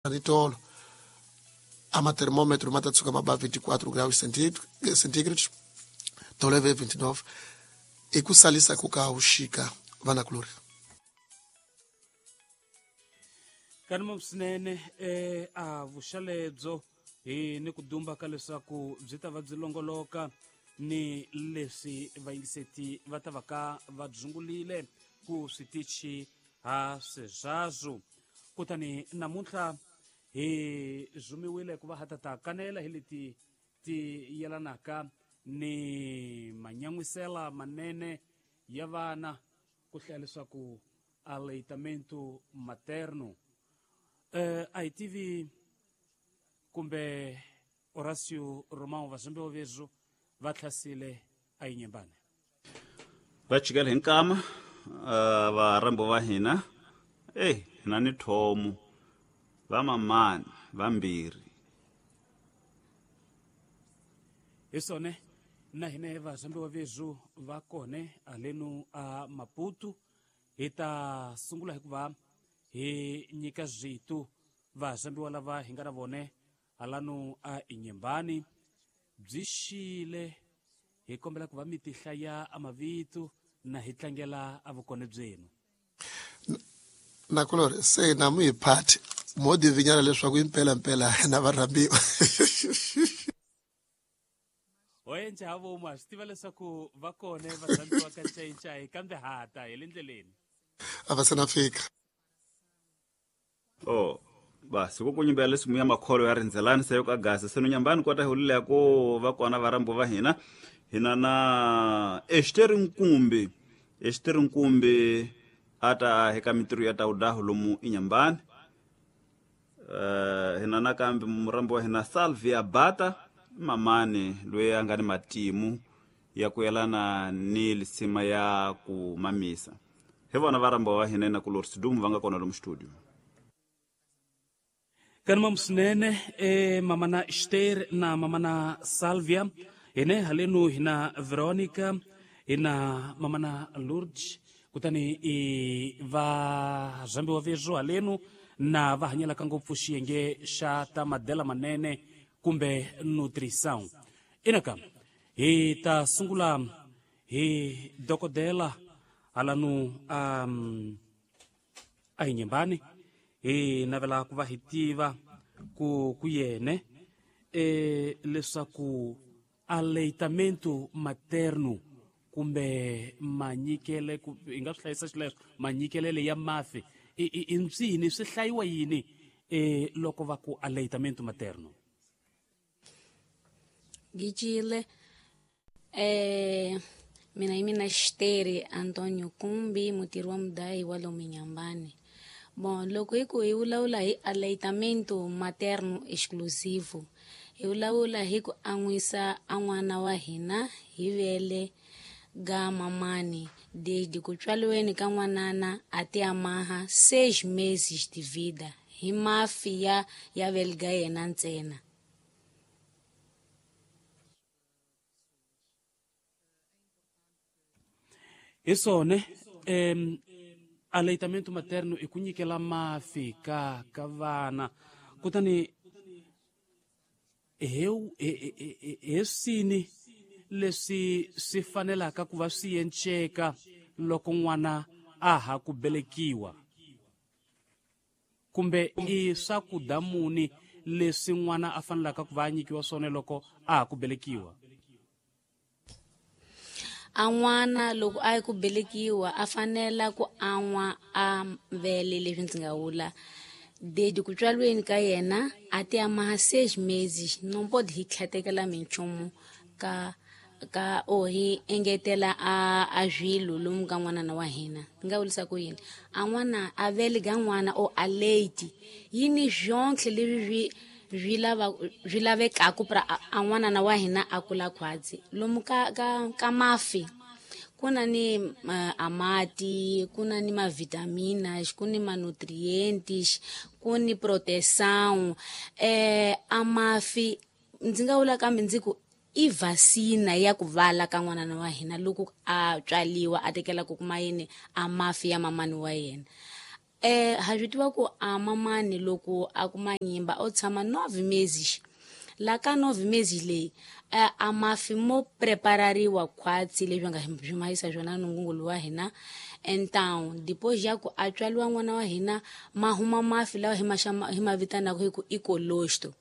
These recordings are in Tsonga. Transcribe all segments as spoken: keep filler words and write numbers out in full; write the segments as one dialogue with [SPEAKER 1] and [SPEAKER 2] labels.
[SPEAKER 1] Ni tolo a matermômetro ma ta tshuka ma ba vinte e quatro graus centígrados, tolo ve vinte e nove, i ku salisa ku ka wuxika, vanakulori.
[SPEAKER 2] Kanima swinene eh, a vuxalebyo hi ni ku dumba ka leswaku byi ta va byi longoloka ni leswi vayingiseti va ta va ka va dzungulile ku switichi ha sweswaswo. Kutani namuntlha hi zumiwile ku va ha ta ta kanela hi leti ti yelanaka ni manyan'wisela manene ya vana, ku hlaya leswaku aleitamento materno. eh, a hi tivi kumbe Horacio Romão vazambiwa vezu va tlhasile a yi nyembane.
[SPEAKER 3] Va chikela hi nkama uh, varambo va hina. Ei, hina ni thomo va mamani vambirhi.
[SPEAKER 2] Hi swone, na hine vazambiwa vezu va kone alenu a Maputo. Hi ta sungula hikuva hi nyika zwitu vazambiwa lava hi nga na vone halanu a Inyembani. Byi xile, hi kombela ku va mi ti hlaya a mavito na hi tlangela a vukone byenu.
[SPEAKER 1] Nakulori, se na mu hi phati mo divinyana leswaku impela mpela na varhambiwa.
[SPEAKER 2] Ho enca ha vomu, ha swi tiva leswaku va kone varhambiwa ka ncayincayi, kambe hata hi le ndleleni.
[SPEAKER 1] A va se na fika.
[SPEAKER 3] Oh, basi ku kunyimbela leswi muya makholo ya rindzelani se yo ka gasa se no nyambani kota hi hulile ku va kona varambo va hina. Hina na Esther Nkumbi. Esther Nkumbi ata heka mitirho ya tawudahu lomu inyambani. uh, hina nakambe murambo wa hina Salvia Bata, mamani loyi a nga ni matimu ya ku yelana ni lisima ya ku mamisa. Hi vona varambo wa hina na ku Sidumu va nga kona lomu studio.
[SPEAKER 2] Kanima swinene e mamana Ester na mamana Salvia. Hine halenu hina Veronica, hina mamana Lourdes. Kutani i va zambiwa vezwo halenu na va hanyelaka ngopfu xiyenge xa ta madela manene kumbe nutrição. Inaka hi ta sungula hi dokodela halanu um, a hi nyembani. Hi navela ku va hi tiva ku ku yene e leswaku aleitamento materno kumbe manyikele, ku hi nga swi hlayisa xileswo, manyikelele ya mafi i i i ncini, swi hlayiwa yini e loko va ku aleitamento materno?
[SPEAKER 4] Gijile, eh, mina hi mina Xiteri Antonio Kumbi, mutirhi wa mudayi wa lomu Nyambani. Bom, loko hi ku hi vulavula hi aleitamento materno exclusivo, hi vulavula hi ku an'wisa a n'wana wa hina hi vele ga mamani desde ku tswaliweni ka n'wanana a ti amaha seis meses de vida hi mafi ya ya vele ga yena ntsena.
[SPEAKER 2] Hi swone, um aleitamento materno i ku nyikela mafi ka ka vana. Kutani he he swini leswi swi fanelaka ku va swi enceka loko n'wana a ha ku belekiwa, kumbe i swakudya muni leswi n'wana a fanelaka ku va a nyikiwa swona loko a ha ku belekiwa?
[SPEAKER 4] A n'wana loko a yi ku belekiwa a fanela ku an'wa a vele, leswi ndzi nga vula, desde ku tswaliweni ka yena a ti amaha seis meses, no pode hi tlhatekela minchumu ka ka o hi engetela a a swilo lomu ka n'wanana wa hina. Ni nga vulisa ku yini, a n'wana a vele ga n'wana o a late yi ni swonhle leswi swi swi lava swi lavekaku pra a n'wanana wa hina a kula khwatsi. Lomu ka ka ka mafi ku na ni uh, amati, ku na ni mavitaminas, ku ni manutrientes, ku ni proteção. eh amafi ndzi nga vula kambe ndzi ku i vasina ya ku vala ka n'wanana wa hina loko a tswaliwa, a tekela ku kuma yini, a mafi ya mamani wa yena. Eh ha swi tiva ku a mamani loko a kuma nyimba o tshama nove meses. La ka nove meses leyi a mafi mo preparariwa khwatsi leswi nga swi mahisa swona nungungulu wa hina. Então depois ya ku a tswaliwa n'wana wa hina ma huma mafi lawa hi ma hi ma vitanaka hi ku i colostrum.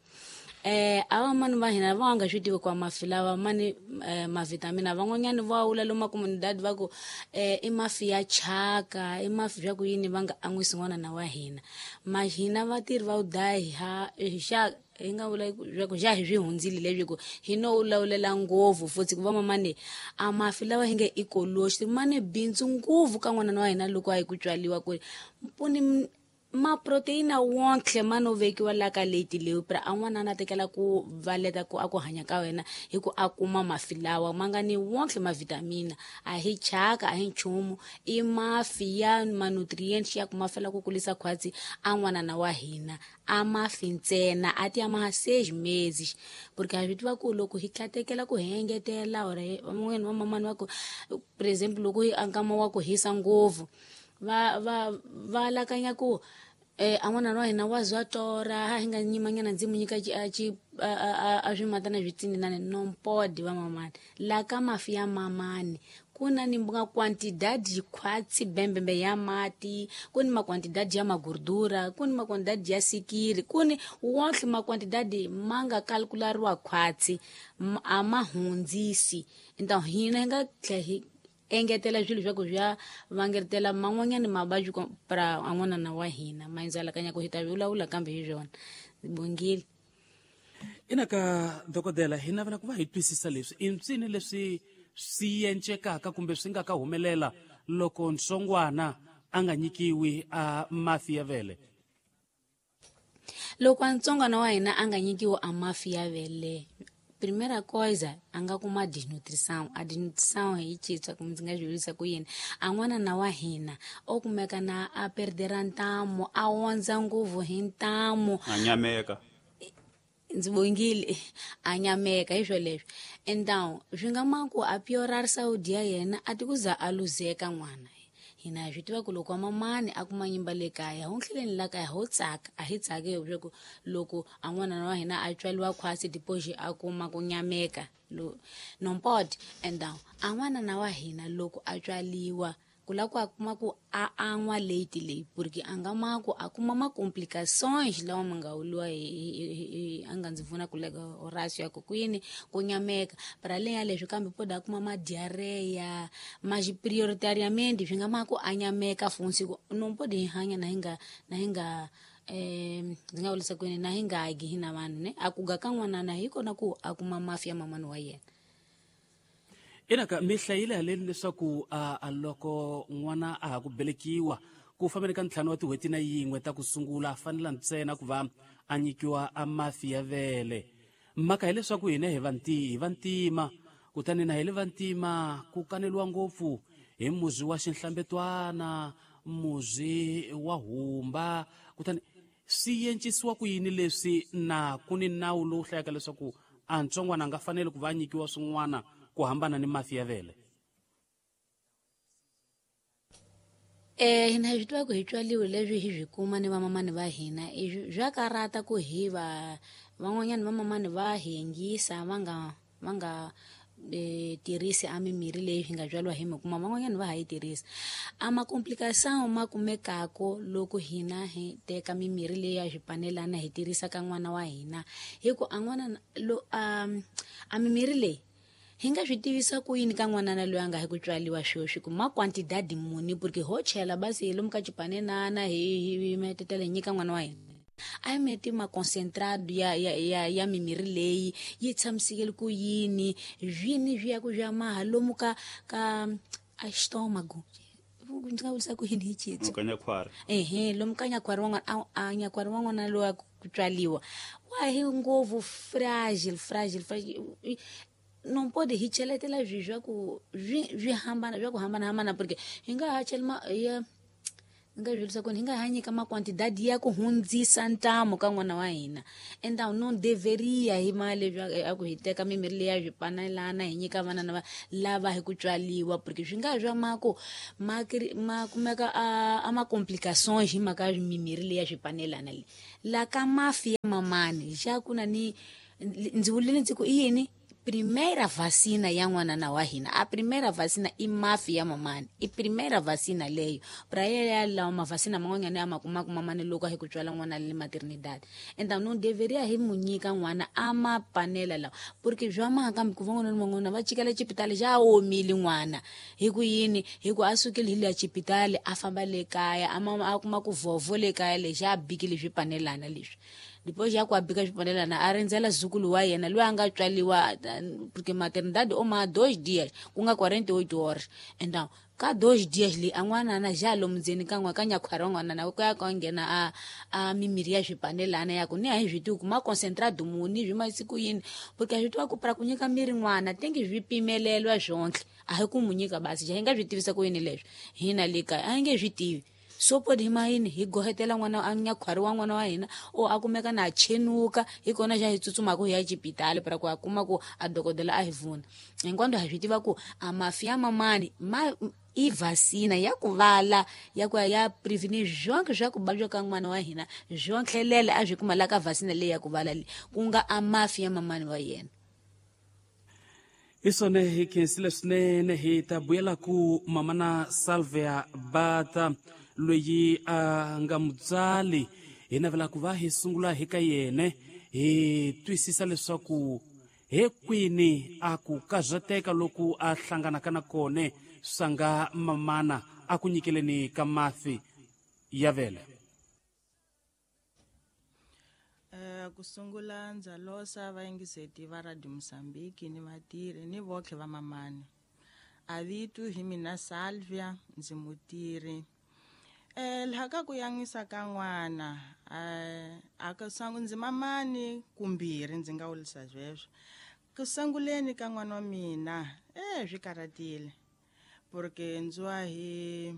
[SPEAKER 4] Eh ava mani va hina va nga swi tivi kwa mafi lawa mani eh, mavitamina van'wanyani va wula lomu makomunidadi va ku eh, i mafi ya chaka i mafi swa ku yini va nga an'wisi n'wana na wa hina. Ma hina vatirhi va udayi ha xa hi nga vula swa ku xa hi swi hundzile leswi ku hi no lawulela ngopfu futhi ku va mamani a mafi lawa hi nge i colostrum mani bindzu ngopfu ka n'wana wa hina loko a yi ku tswaliwa ku mpuni ma proteina wonke ma no vekiwa la ka leti leyi pra a n'wana na tekela ku valeta ku a ku hanya ka wena hi ku a kuma mafi lawa ma nga ni wonke ma vitamina a hi chaka a hi nchumu i mafi ya ma nutrients ya ku mafela ku kulisa khwatsi a n'wana na wa hina a mafi ntsena a ti ya ma seis meses porque a swi tiva ku loko hi tlatekela ku hi engetela or van'wanyana va mamani va ku por exemple loko hi nkama wa ku hisa ngopfu va va va lakanya ku eh a n'wana wa hina wa zwa tora ha hi nga nyimanyana ndzi mu nyika a ci a swimatana switsinini non pode va mamani la ka mafi ya mamani ku na ni nga quantidade khwatsi bembembe ya mati ku ni maquantidade ya magordura ku ni maquantidade ya sikiri ku ni wonke maquantidade ma nga calculariwa khwatsi a ma hundzisi. Então hina hi nga tlhe hi engetela swilo swa ku swa vangetela man'wanyana mavabyi pra a n'wana na wa hina ma indzalakanya ku hi ta vulavula kambe hi swona bongile.
[SPEAKER 2] Ina ka dokodela hi navela ku va hi twisisa leswi i mpsini leswi swi encekaka kumbe swi nga ka humelela loko ntsongwana a nga nyikiwi a mafi ya vele.
[SPEAKER 4] Loko ntsongwana wa hina a nga nyikiwi a mafi ya vele, primeira coisa a nga kuma desnutrição. A desnutrição hi citswa kumbe ndzi nga swi vurisa ku yini a n'wana na wa hina o kumeka na a perdera ntamu a ondza ngopfu hi ntamu
[SPEAKER 3] a nyameka
[SPEAKER 4] ndzi bongile a nyameka hi swo leswo. Então swi nga ma ku a piorar saúde ya yena a ti ku za a luzeka n'wana. Hina hi swi tiva ku loko wa mamani a kuma nyimba le kaya ho tlheleni la kaya ho tsaka a hi tsaki leswaku loko a n'wana wa hina a tswaliwa khwatsi depois a kuma ku nyameka non pode. Então a n'wana na wa hina loko a tswaliwa ku la ku a kuma ku a an'wa leti leyi porque a nga ma ku a kuma ma complicações lawa ma nga wuliwa hi a nga ndzi pfuna ku leka Horacio ya ku kwini ku nyameka para além ya leswi kambe pode a kuma ma diarreia mas prioritariamente swi nga ma ku a nyameka funtsi ku non pode hi hanya na hi nga na hi nga eh ndzi nga vurisa kwini na hi nga gi hina vanhu ne a ku ga ka n'wana na hi kona ku a kuma mafi ya mamani wa yena.
[SPEAKER 2] Ina ka mi hlayile haleni leswaku a loko n'wana a ha ku belekiwa ku fambeni ka ntlhanu wa tin'hweti na yin'we ta ku sungula a fanela ntsena ku va a nyikiwa a mafi ya vele. Mhaka hileswaku hina hi vanti hi vantima kutani na hi le vantima ku kaneliwa ngopfu hi muzi wa xinhlambetwana muzi wa humba kutani swi encisiwa ku yini leswi na ku ni nawu lowu hlayaka leswaku a ntsongwana a nga faneli ku va a nyikiwa swin'wana ku hambana ni mafi ya vele.
[SPEAKER 4] Eh hina hi swi tiva ku hi tswaliwe leswi hi swi kuma ni vamamani va hina swa karata ku hi va van'wanyana vamamani va hi yingisa va nga va nga eh, tirhisi a mimirhi leyi hi nga byariwa hi mi kuma van'wanyana va ha yi tirhisa. A ma-complicação ma kumekako loko hina hi teka mimirhi leyi ya swipanelana hi tirhisa ka n'wana wa hina hi ku a n'wana lo a a mimirhi leyi hi nga swi tivisa ku yini ka n'wanana loyi a nga hi ku tswaliwa sweswi ku ma quantidade muni porque ho chela basi hi lomu ka xipanenana hi hi metetela hi nyika n'wana wa hina a yi meti ma concentrado ya ya ya ya mimirhi leyi yi tshamisekele ku yini swini swi ya ku swi ya maha lomu ka ka a estómago ndzi nga vurisa ku yini hi xitsonga
[SPEAKER 3] nyakwari
[SPEAKER 4] ehe lomu ka nyakwari wan'wana a nyakwari wan'wana loyi a ku tswaliwa wa hi ngopfu fragile fragile fragile non pode hi cheletela swi swa ku swi swi hambana swa ku hambanahambana porque hi nga ha chela ma ya Nga byelisa ku hi nga ha nyika maquantidade ya ku hundzisa ntamu ka n'wana wa hina. Então não deveria hi mali a ku hi teka mimirhi leya swipanelana hi nyika vana na lava hi ku tswaliwa, porque swi nga swa mako ma ma kumeka a, a ma complications hi mhaka mimirhi leya swipanelana le. La ka mafi ya mamani xa ku na ni ndzi vulile ndzi ku i yini? Primeira vacina ya n'wana wa hina, a primeira vacina i mafi ya mamani, i primeira vacina leyo pra ya lawa mavacina man'wanyana ya ma kumaka mamani loko hi ku tswala n'wana le maternidade. Então não deveria hi mu nyika n'wana a ma panela lawa, porque swa mhaka kambe ku van'wana ni van'wana va chikela xipitali xa omile n'wana hi ku yini, hi ku a sukile hi le xipitali a famba le kaya a ma a kuma ku vovo le kaya lexi a bikile swipanelana leswi. Depois já ku a bika swipanelana a rindzela zukulu wa yena loyi a nga tswaliwa, porque maternidade o ma dois dias ku nga quarenta e oito horas. Então ka dois dias li a n'wanana ja lomu ndzeni ka n'wa ka nyakhwari wa n'wanana ku ya ka nghena a a mimirhi ya swipanelana ya ku ni a hi swi tivi ku ma concentrado muni swi masiku yini, porque a swi tiva ku pra ku nyika miri n'wana tengi swi pimelelwa swonhle, a hi ku mu nyika basi ja hi nga swi tivisa ku yini leswi hina le kaya a hi nge swi tivi. So podi hi mayini hi gohetela n'wana a nyakhwari wa n'wana wa hina o a kumeka na chenuka hi kona xa hi tsutsumaka hi ya xipitali para ku a kuma ku a dokodela a hi vuna. Hinkwando ha swi tiva ku a mafi ya mamani ma i vacina ya ku vala ya ku ya prevenir swonke swa ku vabya ka n'wana wa hina swontlhelela a swi kuma la ka vacina leyi ya ku vala leyi ku nga a mafi ya mamani wa yena.
[SPEAKER 2] Isone hi khensile swinene hi ta vuyela ku mamana Salvia Bata loyi a nga mutswali hi navela ku va hi sungula hi ka yene hi twisisa leswaku he kwini a ku karhateka loku a hlanganaka na kone swa nga mamana a ku nyikeleni ka mafi ya vele.
[SPEAKER 5] Uh, ku sungula ndza losa vayingiseti va Radio Mozambique ni vatirhi ni votlhe va mamani. A vito hi mina Salvia ndzi mutirhi. Eh laha ka ku yan'wisa ka n'wana eh a ka sangu ndzi mamani kumbirhi ndzi nga wulisa sweswo. Ku sunguleni ka n'wana wa mina eh swi karhatile porque ndzi wa hi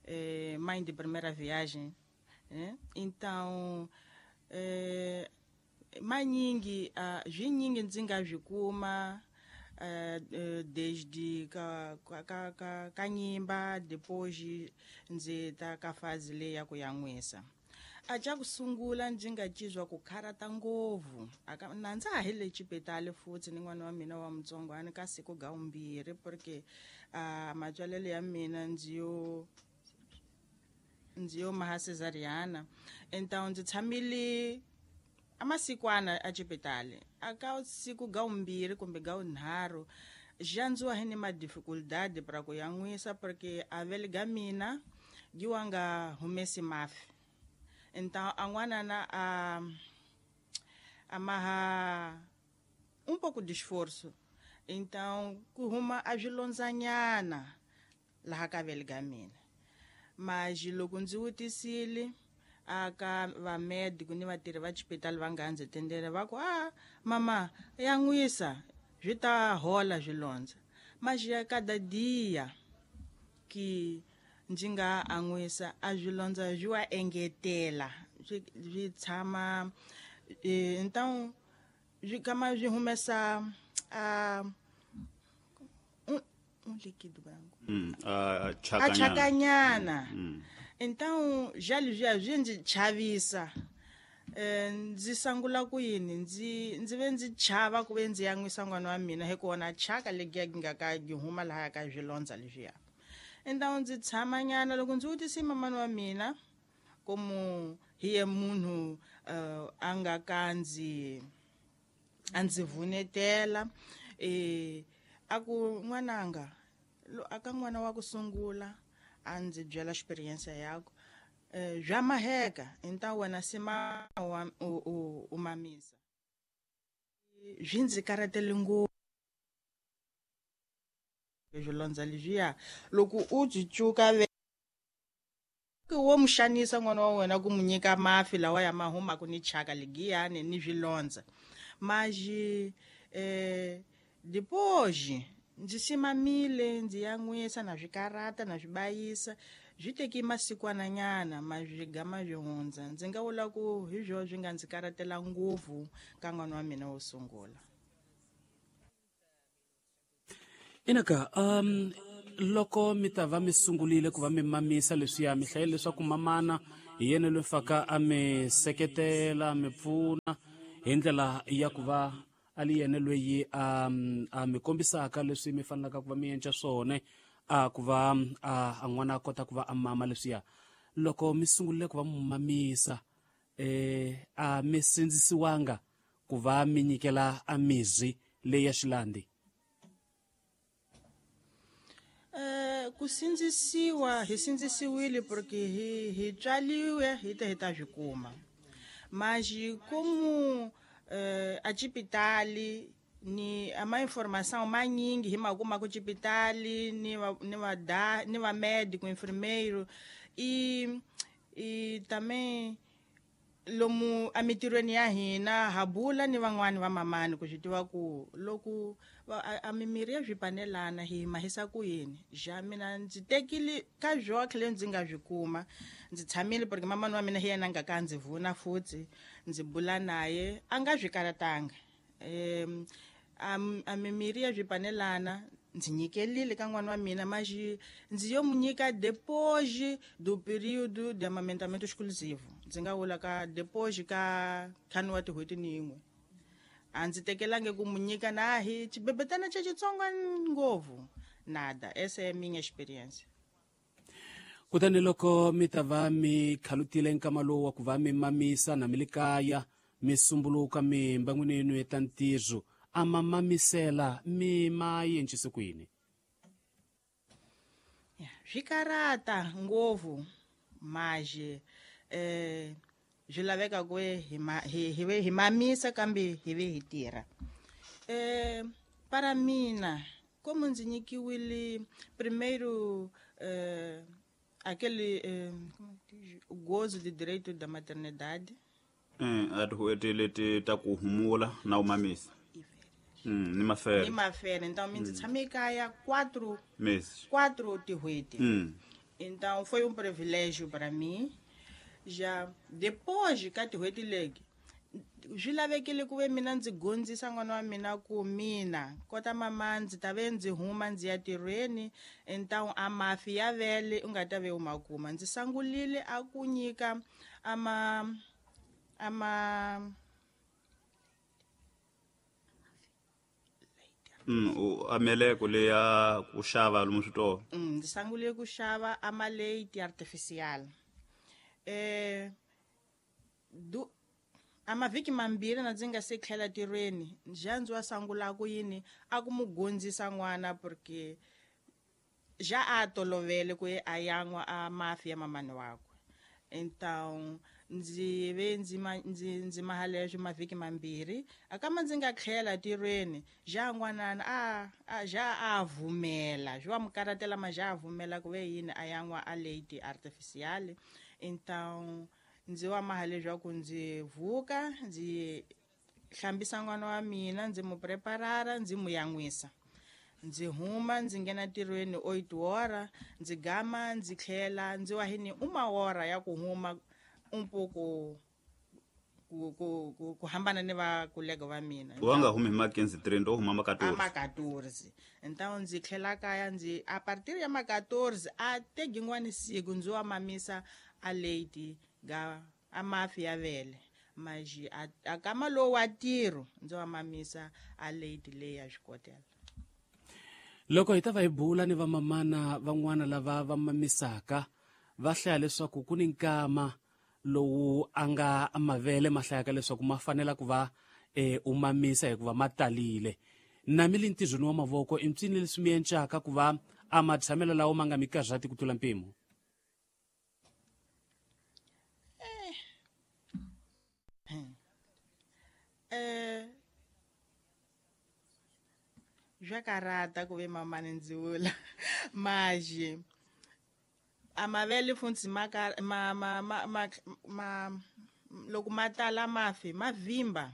[SPEAKER 5] eh mãe de primeira viagem, eh então eh manyingi uh, zwinyingi ndzi nga swi kuma Uh, desde ka ka ka ka nyimba depois ndzi ta ka fazi leyi ya ku yan'wisa. A xa ku sungula ndzi nga cizwa ku kharata ngopfu aka na ndza ha le xipitali futhi ni n'wana wa mina wa mutsongwana ka siku ga vumbirhi porque uh, matswalelo ya mina ndzi yo ndzi yo maha cesariana. Então ndzi tshamile amasikwana a xipitali aka siku ga vumbirhi kumbe ga vunharhu xa ndziwa hi ni ma dificuldade para ku yan'wisa porque a vele ga mina giwa nga humesi mafi. Então a n'wanana a a maha um pouco de esforço, então ku huma a swilondzanyana laha ka vele ga mina. Mas loko ndzi vutisile aka va médico ni vatirhi va xipitali va nga ndzi tendele va ku a mama yan'wisa swi ta hola swilondza. Mas ya cada dia que ndzi nga an'wisa a swilondza swi wa engetela swi swi tshama então swi kama swi humesa a um, um líquido branco
[SPEAKER 3] mm, a
[SPEAKER 5] a chakanyana. Então já já swi ndzi chavisa eh ndzi sangula ku yini ndzi ndzi ve ndzi chava ku ve ndzi yan'wisa n'wana wa mina hi ku wona chaka legiya nga ka gi huma laha ka swilondza leswiya. Então ndzi tshama nyana loko ndzi vutise mamani wa mina como hi ye munhu uh, a nga ka ndzi a ndzi vunetela eh a ku n'wananga aka n'wana wa ku sungula a ndzi byela experience yakho eh bya maheka então wena sima wa u, u mamisa swi ndzi karhatele ngopfu swilondza leswiya loko u byi cuka wo mu xanisa n'wana wa wena ku mu nyika mafi lawa ya ma humaka ni chaka ligiyani ni swilondza. Mas eh depois ndzi simamile ndzi yan'wisa na swikarata na swi bayisa Byi teki masikwananyana ma swi gama swi hundza. Ndzi nga vula ku hi byo swi nga ndzi karatela ngopfu ka n'wana wa mina wo sungula.
[SPEAKER 2] Inaka um loko mi ta va mi sungulile ku va mi mamisa leswiya mi hlayile leswaku mamana hi yena loyi faka a mi seketela mi pfuna hi ndlela ya ku va a li yena loyi a a mi kombisaka leswi mi fanelaka ku va mi endla swona a ku va a n'wana a kota ku va a mama leswiya. Loko mi sungulile ku va mi mamisa eh a mi sindzisiwanga ku va mi nyikela a mizi leyi ya xilandi?
[SPEAKER 5] Eh ku sindzisiwa hi sindzisiwile porque hi hi tswaliwe hi ta hi ta swi kuma. Mas como eh a xipitali ni ama informação manyingi hi ma kuma ku xipitali ni va ni va da ni va médico enfermeiro e e também lomu emitirhweni ya hina ha bula ni van'wani va mamani ku swi tiva ku loko a mimiri ya swipanelana hi mahisa ku yini. Ja mina ndzi tekile ka byotlhe leyi ndzi nga byi kuma, ndzi tshamile porque mamani wa mina hi yena a nga ka ndzi vuna futhi ndzi bula naye a nga byi karatanga. Um a mimiri ya swipanelana ndzi nyikelile ka n'wana wa mina, mas ndzi yo mu nyika depois do período de amamentamento exclusivo. Ndzi nga vula ka depois ka ntlhanu wa tin'hweti ni yin'we. A ndzi tekelangi ku mu nyika na hi xibebetana xa xitsongo ngopfu nada. Essa é a minha experiência.
[SPEAKER 2] Kutani loko mi ta va mi khalutile nkama lowu wa ku va mi mamisa na mi le kaya mi sumbuluka mi mbangwini yenu ya ta ntirho a ma mamisela mi ma yencise ku yini?
[SPEAKER 5] Swi karata ngopfu mas eh swi laveka ku hi ma hi hi ve hi mamisa kambe hi ve hi tirha. Eh para mina como ndzi nyikiwile primeiro eh aquele eh, como diz, o gozo de direito da maternidade.
[SPEAKER 3] Eh a tin'hweti leti ta ku humula na u mamisa. Mm, ni mafere.
[SPEAKER 5] Ni mafere. Então mina ndzi tshame ekaya quatro
[SPEAKER 3] meses.
[SPEAKER 5] Quatro tin'hweti.
[SPEAKER 3] Mm.
[SPEAKER 5] Então foi um privilégio para mim. Já depois ka tin'hweti leti swi lavekile ku ve mina ndzi gondzisa n'wana wa mina ku mina kota mama ndzi ta ve ndzi huma ndzi ya tirhweni, então a mafi ya vele u nga ta ve u ma kuma. Ndzi sangulile a ku nyika ama ama
[SPEAKER 3] Mm, u ameleko leya ku xava lomu switolo.
[SPEAKER 5] Mm, ndzi sangulile ku xava amaleiti artificial. Eh du a mavhiki mambirhi na ndzi nga se tlhela tirhweni ja ndzi wa sangula ku yini a ku mu gondzisa n'wana porque ja a tolovele ku a yan'wa a mafi ya mamani wakwe. Então ndzi ve ndzi ndzi ndzi mahaleswo mavhiki mambirhi akama ndzi nga tlhela tirhweni ja n'wanana a a ja a vumela swi wa mu karatela ma ja a vumela ku ve yini a yan'wa a leiti artificial. Então ndzi wa maha leswaku ndzi vuka ndzi hlambisa n'wana wa mina ndzi mu preparara ndzi mu yan'wisa ndzi huma ndzi nghena ntirhweni oito hora ndzi gama ndzi tlhela ndzi wa hini uma hora ya ku huma um pouco ku ku ku, ku hambana ni va kolega va mina.
[SPEAKER 3] Wa nga humi hi ma quinze trinta o huma ma quatorze.
[SPEAKER 5] A ma quatorze. Então ndzi tlhela kaya ndzi a partir ya ma quatorze a te yin'wani siku ndzi wa mamisa a leiti ga a mafi ya vele mas a kama lowu wa ntirho ndzi wa mamisa a leiti leyi ya xikotela.
[SPEAKER 2] Loko hi ta va hi bula ni vamamana van'wana lava va mamisaka va hlaya leswaku ku ni nkama lowu a nga mavele ma hlayaka leswaku ma fanela ku va eh, u mamisa hikuva ma talile. Na mi le ntirhweni wa mavoko i mpsini leswi mi encaka ku va a matshamelo lawo ma nga mi karhati ku tlula mpimo?
[SPEAKER 5] Eh swa karata ku ve mamani ndzi vula mas a mavele futhi ma ma ma ma ma, ma loko ma tala mafi ma vimba.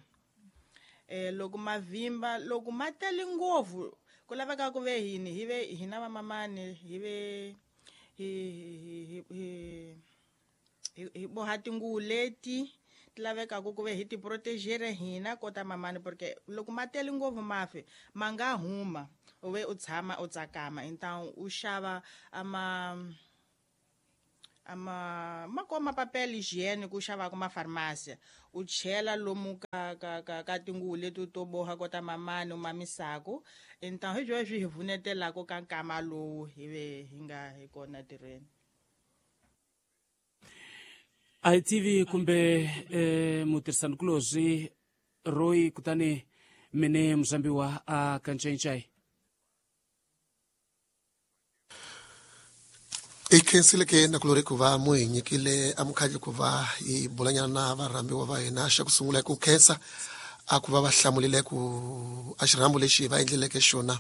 [SPEAKER 5] Eh loko ma vimba loko ma tele ngopfu ku laveka ku ve hini hi ve hina va mamani hi ve hi hi hi hi boha tinguvu leti ti lavekaka ku ve hi ti protegere hina kota mamani, porque loko ma tele ngopfu mafi ma nga huma u ve u tshama u tsakama. Então u xava ama ama ma koma papel hygiene ku xava kuma farmacia u chela lomu ka ka ka ka tinguvu leti to boha kota mamani u mamisako. Então hi byo swi hi pfunetelaka ka nkama lowu hi ve hi nga hi kona tirhweni.
[SPEAKER 2] A hi tivi kumbe eh, mutirhisanikulorhi Roy kutani mine muzambiwa a kancencai.
[SPEAKER 1] I khensile ke nakulori ku va mu hi nyikile amukhandli ku va hi bulanyana na varhambiwa va hina. Xa ku sungula hi ku khensa a ku va va hlamulile ku a xirhambo lexi va endleleke xona.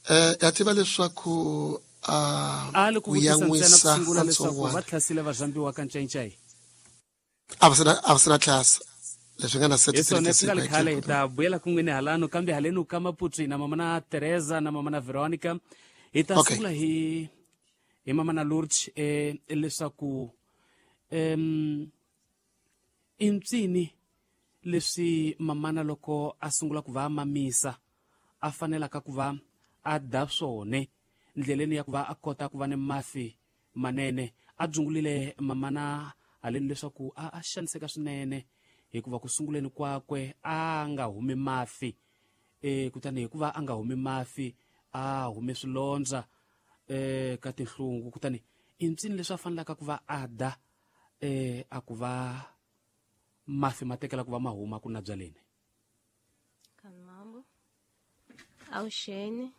[SPEAKER 1] Eh ya tiva leswaku a
[SPEAKER 2] a li ku
[SPEAKER 1] ku
[SPEAKER 2] vutisa ntsena ku
[SPEAKER 1] yan'wisa
[SPEAKER 2] sungula leswaku va
[SPEAKER 1] ntsongwana
[SPEAKER 2] tlhasile varhambiwa kancencai.
[SPEAKER 1] a va sina a va sina tlhasa leswi nga na
[SPEAKER 2] Hi swona swi nga li
[SPEAKER 1] thirty-three
[SPEAKER 2] khale hi ta vuyela kun'wini halano, kambe halenu ka Maputo na mama na Teresa na mama na Veronica. Hi ta
[SPEAKER 1] Okay.
[SPEAKER 2] sungula hi hi mama na Lourdes eh leswaku em i mpsini leswi mamana loko a sungula ku va a mamisa a fanelaka ku va a da swone ndleleni ya ku va a kota ku va ni mafi manene. A dzungulile mamana haleni leswaku a a xaniseka swinene hikuva ku sunguleni kwakwe a nga humi mafi e kutani hikuva a nga humi mafi a hume swilondza eh ka tinhlungu. Kutani i mpsini leswi a fanelaka ku va a da eh a ku va mafi ma tekela ku va ma huma ku na byaleni.
[SPEAKER 6] Kanambo. Avuxeni.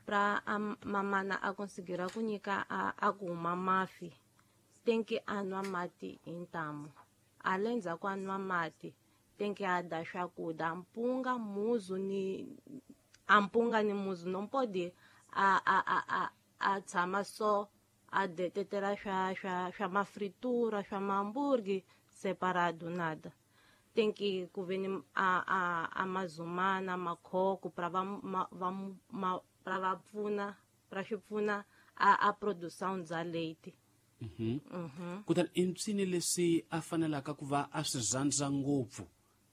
[SPEAKER 6] Pra a mamana a conseguir ku nyika a, a ku huma mafi tem que a nwa mati hi ntamu. Ale ndzhaku a nwa mati tem que a da swakudya mpunga muzu ni a mpunga ni muzu não pode a a a a a tshama só a detetela swa swa swa mafritura swa mahamburgi separado nada. Tem que ku ve ni a a a mazumana makhoko pra va ma, va ma, pra va pfuna pra swi pfuna a a produção bya leite.
[SPEAKER 2] Mhm. Kutani i mpsini leswi a fanelaka ku va a swi rhandza ngopfu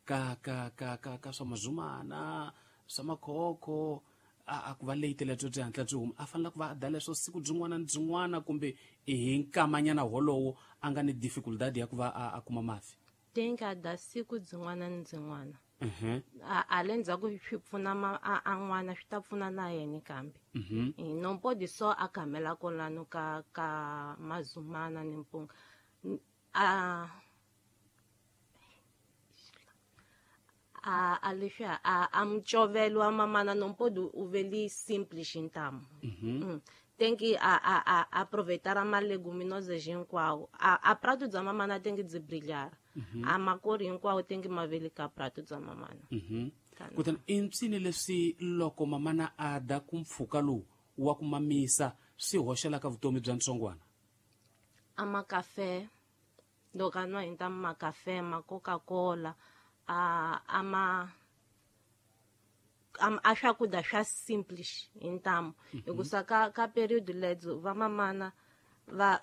[SPEAKER 2] ka ka ka ka ka swa mazumana swa makhokho a a ku va leite lebyo byi hatla byi huma a fanela ku va a da leswo siku byin'wana ni byin'wana kumbe hi nkamanyana wolowo a nga ni difficultad ya ku va a, a kuma mafi.
[SPEAKER 6] Tem que a da siku byin'wana ni byin'wana.
[SPEAKER 2] Mhm.
[SPEAKER 6] A ale ndzhaku swi pfuna ma a a n'wana swi ta pfuna na yena kambe.
[SPEAKER 2] Mhm.
[SPEAKER 6] E não pode só a camela kolano ka ka mazumana ni mpunga. A a a leswiya a a mucovelo wa mamana não pode u veli simples ntamu.
[SPEAKER 2] Mhm.
[SPEAKER 6] Mm. Tem que a a a aproveitar a leguminosas hinkwawo. A a prato bya mamana tem que byi brilhar. A makori hinkwawo tem que ma veli ka prato bya mamana.
[SPEAKER 2] Mhm. Kutani i mpsini leswi loko mamana a da ku mpfhuka lowu wa ku mamisa swi hoxelaka vutomi bya ntsongwana.
[SPEAKER 6] A makafe loko a nwa hi ntamu makafe ma Coca-Cola a a ma a swakudya swa simples hi ntamu. Hikusa ka ka period lebyo va mamana va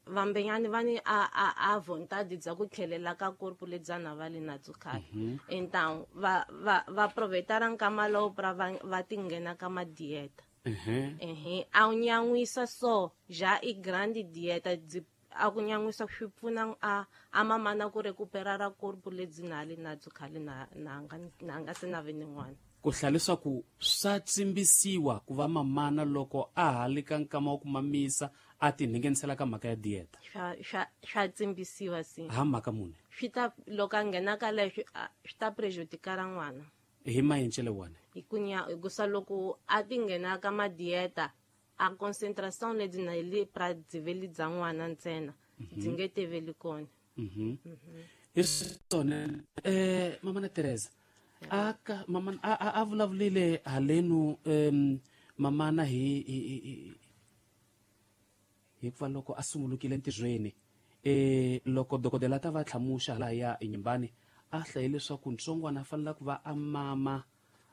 [SPEAKER 6] vambenyani va ni a a a vontade bya ku tlhelela ka corpo lebyana va le na byo khale. Então va va va aproveitar nkama lowu pra va va ti nghena ka ma dieta.
[SPEAKER 2] Mhm.
[SPEAKER 6] Ehe, a wu nyan'wisa so já i grande dieta byi a ku nyan'wisa swi pfuna a a mamana ku recuperar corpo lebyi na le na byo khale na na nga na nga se na ve ni n'wana.
[SPEAKER 2] Ku hlaya leswaku swa tsimbisiwa ku va mamana loko a ha le ka nkama wa ku mamisa a tinhengenisela ka mhaka ya dieta.
[SPEAKER 6] Swa swa swa tsimbisiwa si.
[SPEAKER 2] Ha mhaka muni?
[SPEAKER 6] Swi ta loko a nghena ka leswi swi ta prejudicar n'wana.
[SPEAKER 2] Hi maendlelo wani?
[SPEAKER 6] Hi ku nya hikusa loko a ti nghena ka ma dieta a concentration lebyi na le pra byi bya n'wana ntsena byi nge teveli kona.
[SPEAKER 2] Mhm. Hi swona eh mama na Teresa aka mama a a, a vulavulile halenu em mamana hi hi hi hikuva loko a sungulukile ntirhweni eh loko dokodela ta va tlhamuxa hala ya enyimbani a hlaye leswaku ntsongwana a fanela ku va a mama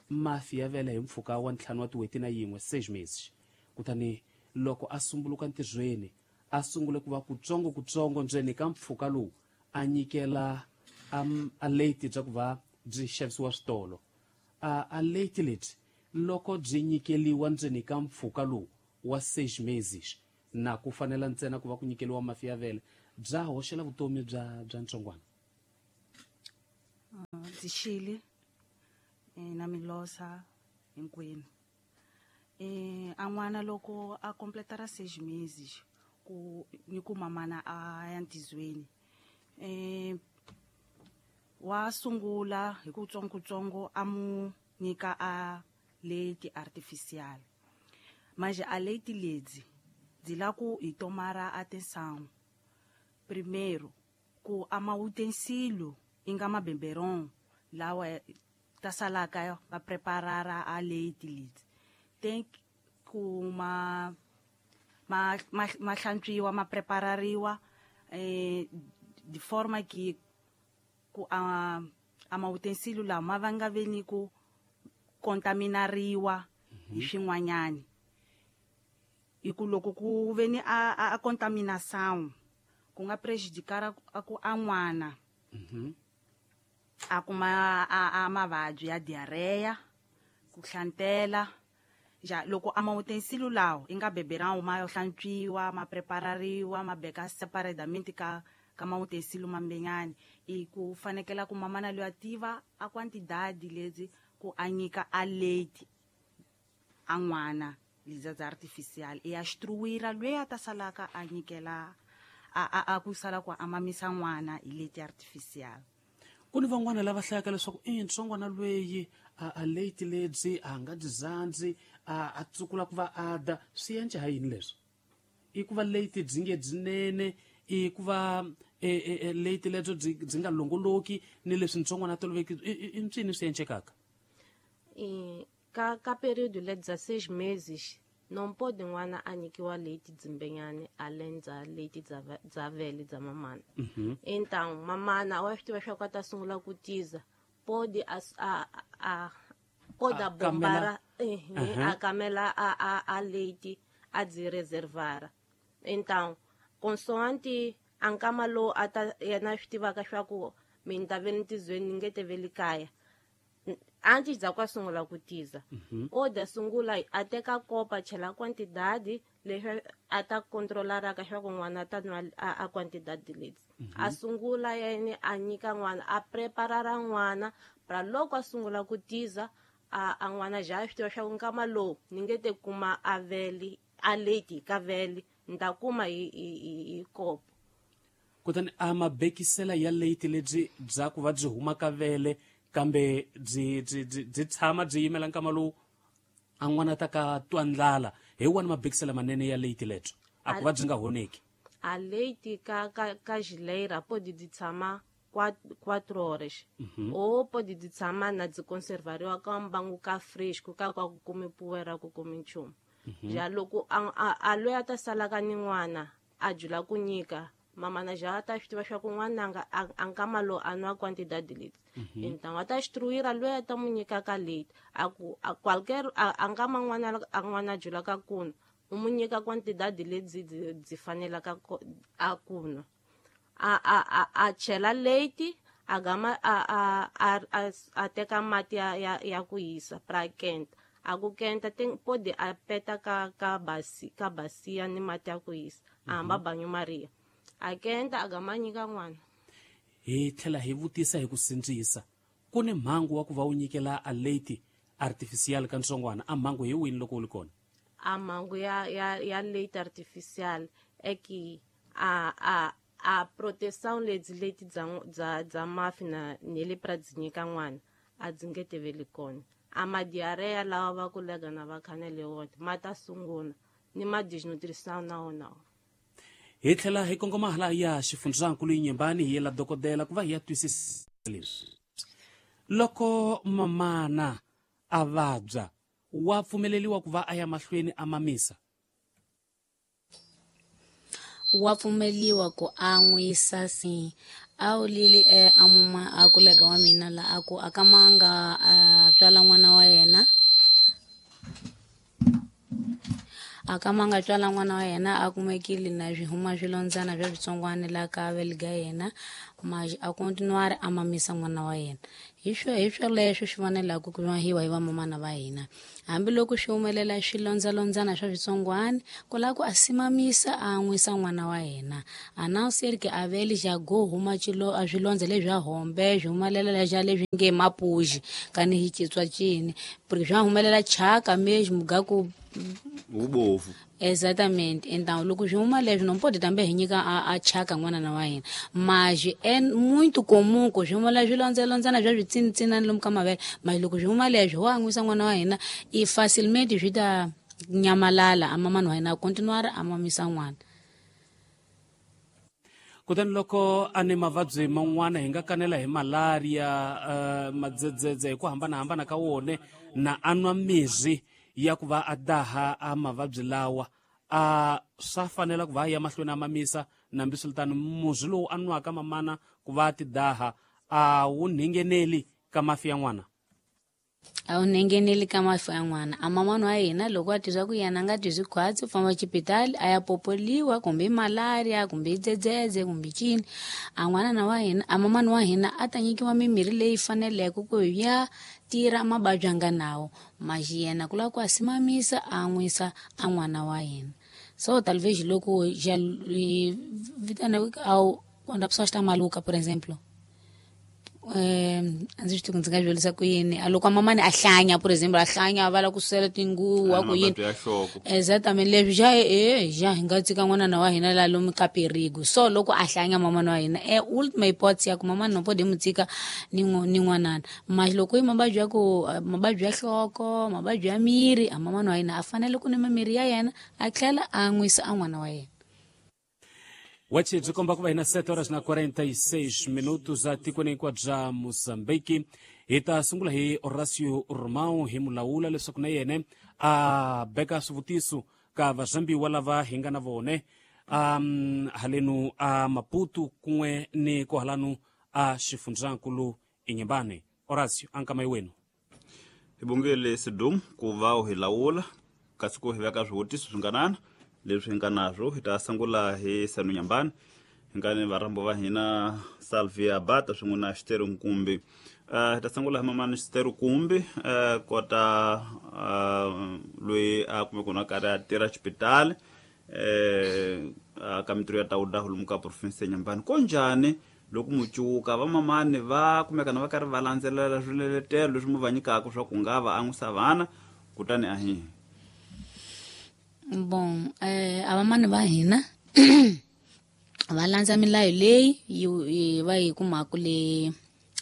[SPEAKER 2] mafi ya vele hi mpfhuka wa ntlhanu wa tin'hweti na yin'we seis meses. Kutani loko a sumbuluka ntirhweni a sungule ku va kutsongo kutsongo ndzeni ka mpfhuka lowu a nyikela um, a leti bya ku va byi xavisiwa switolo. A, a leti leti loko byi nyikeliwa ndzeni ka mpfhuka lowu wa seis meses na ku fanela ntsena ku va ku nyikeliwa mafi ya vele bya hoxela vutomi bya bya ntsongwana.
[SPEAKER 7] Ndzi xile na milosa hinkwenu. Eh a n'wana loko a completara seis meses ku ni ku mamana a ya ntizweni eh wa sungula hi ku tsongo a mu nyika a leti artificial. Manje a leti ledzi dzi la ku hi tomara atenção. Primeiro ku ama utensílio inga mabeberon lawa ta salaka va preparara a leti ledzi. Tem ku ma ma ma hlantswiwa ma preparariwa eh de forma que ku a ama utensílio lama va nga veni ku contaminariwa hi swin'wanyani. Hi ku loko ku veni a a contaminação ku nga prejudicar a ku a n'wana a kuma a a mavabyi ya diarrhea ku hlantela. Ja loko ama utensílio lawo i nga beberão ma hlantswiwa ma preparariwa ma beka separadamente ka ka ma utensílio mambenyani. I ku fanekela ku mamana loyi a tiva a quantidade lezi ku a nyika a leite a n'wana leza dza artificial e a instruira loyi a ta salaka a nyikela a a a ku sala ku a mamisa n'wana hi leite artificial.
[SPEAKER 2] Ku ni van'wana lava hlayaka leswaku i ntsongwana lweyi a a leite lebyi a nga byi zandzi a a tsukula ku va a da swi endla ha yini leswi? I ku va leite byi nge byinene, i ku va e leite lebyo byi byi nga longoloki ni leswi ntsongwana a toloveki i ncini swi endlekaka?
[SPEAKER 6] E ka ka período le dezesseis meses não pode n'wana a nyikiwa leite dzimbenyani além dza leite dza dza vele dza mamana. Então mamana wa swi tiva swa ku a ta sungula ku tiza pode a a a pode a bombara a kamela a a a leite a dzi reservara. Então consoante a nkama lowu a ta yena swi tivaka swa ku mina ta ve ntizweni ni nge te ve le kaya antes dza ku a sungula ku tiza o da sungula a teka kopa chela quantidade leswi a ta controlaraka swa ku n'wana a ta nwa a quantidade leti. A sungula yena a nyika n'wana a preparara n'wana pra loko a sungula ku tiza a a n'wana ja swi tiva swa ku nkama lowu ni nge te kuma a vele a leite ka vele ni ta kuma hi hi hi kopo.
[SPEAKER 2] Kutani a mabekisela ya leite lebyi bya ku va byi huma ka vele kambe byi byi byi tshama byi yimela nkama lowu a n'wana ta ka twa ndlala hi wona mabekisela manene ya leite lebyo a ku va byi nga honeki.
[SPEAKER 6] A leite ka ka ka geleira pode dzi tshama quatro horas ou pode dzi tshama na dzi conservariwa ka mbangu ka fresco ka ka ku kumi poeira ku kumi nchumu. Ja loko a a loyi a ta salaka ni n'wana a jula ku nyika mamana ja ta swi tiva swa ku n'wananga a nkama lowu a nwa quantidade leti. Então a ta instruira loyi a ta mu nyikaka leite a ku a qualquer a nkama n'wana a n'wana julaka ku nwa u mu nyika quantidade lebyi byi fanelaka a ku nwa. A a a a chela leite a gama a a a a teka mati ya ya ya ku hisa pra kenta a ku kenta tem pode a peta ka ka basi ka basia ni mati ya ku hisa a hamba banho maria a kenta a gama nyika n'wana.
[SPEAKER 2] Hi tlhela hi vutisa hi ku sindzisa ku ni mhangu wa ku va u nyikela a leite artificial ka ntsongwana a mhangu hi wini loko u li kona?
[SPEAKER 6] A mhangu ya ya ya leite artificial e ki a a a proteção lebyi leti dza dza dza mafi na ni le pra dzi nyika n'wana a dzi nge teveli kona. A ma diarreia lawa va kulega na va khanele wona ma ta sungula ni ma desnutrição na wona.
[SPEAKER 2] Hi tlhela hi kongoma hala ya xifundzankulu Inhambane hi yela dokodela ku va hi ya twisisa leswi. Loko mamana a vabya wa pfumeleriwa ku va a ya mahlweni a mamisa?
[SPEAKER 4] Wa pfumeliwa ku an'wisa si a wu lili e a muma a kulega wa mina la a ku a kamanga a tswala n'wana wa yena A ka ma nga tswala n'wana wa yena a kumekile na swi huma swilondzana swa switsongwana la ka vele ga yena, mas a continuar a mamisa n'wana wa yena. Hi swo hi swoleswo swi fanelaka ku mahiwa hi vamamana va hina. Hambiloko swi humelela swilondzalondzana swa switsongwana, ku lava ku a simamisa a an'wisa n'wana wa yena. A não ser que a vele já go huma xilo a swilondza leswi swa hombe swi humelela xa leswi nge mapuji kani hi xitswa cini, porque swa humelela chaka mesmo ga ku
[SPEAKER 3] ubovu.
[SPEAKER 4] Exatamente. Então loko swi huma leswi não pode também hi nyika a, a chaka n'wana wa hina. Mas é muito comum ku swi humelela swilondzalondzana swa switsinitsinani lomu ka mavele, mas loko swi huma leswi ho an'wisa n'wana wa hina i facilmente swi ta nyamalala a mamani wa hina a continuar a mamisa n'wana.
[SPEAKER 2] Kutani loko a ni mavabyi man'wana hi nga kanela hi malaria, uh, madzedzedze hi ku hambanahambana ka wone, na a nwa mirhi ya ku va a daha a mavabyi lawa, a swa fanela ku va a ya mahlweni a mamisa. Nambiswiritano murhi lowu a nwaka mamana ku va a ti daha a wu ngheneli ka mafi ya n'wana.
[SPEAKER 4] A wu ngheneli ka mafi ya n'wana. A mamani wa hina loko a tizwa ku yena a nga tizwi khwatsi, u famba xipitali a ya popoliwa kumbe i malaria kumbe i dzedzedze kumbe cini. A n'wanana wa hina, a mamani wa hina a ta nyikiwa mimirhi leyi faneleke ku ya tirha mavabyi a nga nawo, mas yena ku lava ku a simamisa a an'wisa a n'wana wa hina. So talvez loko já vitana ao quando a pessoa está maluca, por exemplo, eh a ndzi swi tivi ku ndzi nga swi vurisa ku yini. A loko mamani a hlanya, por exemplo, a hlanya a vala ku sela tinguwa ku yini.
[SPEAKER 3] Mavabyi ya nhloko.
[SPEAKER 4] Exatamente, leswi já e já hi nga tshika n'wana wa hina la lomu ka perigo. So loko a hlanya mamani wa hina, e ultima hipótese ya ku mamani no pode mu tshika ni ni n'wanana. Mas loko i mavabyi ya ku mavabyi ya nhloko, mavabyi ya miri, a mamani wa hina a fanele ku nwa mirhi ya yena a tlhela a an'wisa a n'wana wa yena.
[SPEAKER 2] Wachi byi komba ku va hina sete horas na quarenta e seis minutos a tikweni hinkwabyo bya Mozambique. Hi ta sungula hi Horacio Romão hi mulawula leswaku na yena a beka swivutiso ka vazambiwa lava hi nga na vone um halenu a Maputo kun'we ni kohalanu a xifundzankulu Inhambane. Horacio, ankama wenu.
[SPEAKER 3] Hi bongele Sidum ku va u hi lawula kasi ku hi veka swivutiso swinganana leswi hi nga naswo. Hi ta sungula hi Sanu Nyambani, hi nga ni varhambo va hina Salvia Bata swin'we na Xiteru Nkumbi. Uh, hi ta sungula hi mamani Xiteru Nkumbi, uh, kota uh, loyi a kumeka na karhi a tirha xipitali eh ka mintirho ya tawuda lomu ka province ya Nyambani. Ko njhani loko mucuka va mamani va kumeka na va karhi va landzelela swiletelo leswi mu va nyikaka swa ku nga va an'wisa vana kutani a hi?
[SPEAKER 4] Bom, eh, a vamani va hina va landza milayo leyi yi va yi kumaka le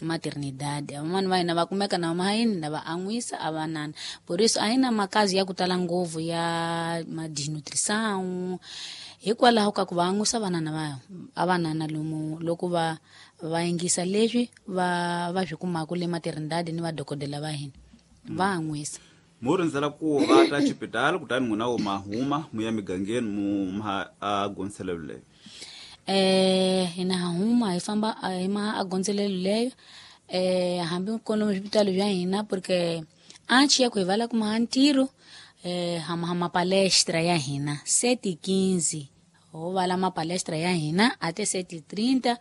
[SPEAKER 4] maternidade. A vamani va hina va kumeka na mahayini na va an'wisa a vanana. Por isso a hi na makazi ya ku tala ngopfu ya malnutrição hikwalaho ka ku va an'wisa vanana va a vanana lomu loko va va yingisa leswi va va swi kumaka le maternidade ni vadokodela va hina va an'wisa.
[SPEAKER 3] Mu rindzela ku va ta xipitali kutani n'wina wo mahuma mu ya migangeni mu ma a gondzelelo leyo?
[SPEAKER 4] Eh hina ha huma hi famba hi ma a gondzelelo leyo, eh hambi kona swipitali bya hina, porque antes ya ku hi vala kuma ntirho, eh ha ma palestra ya hina sete quinze ho vala ma palestra ya hina até sete trinta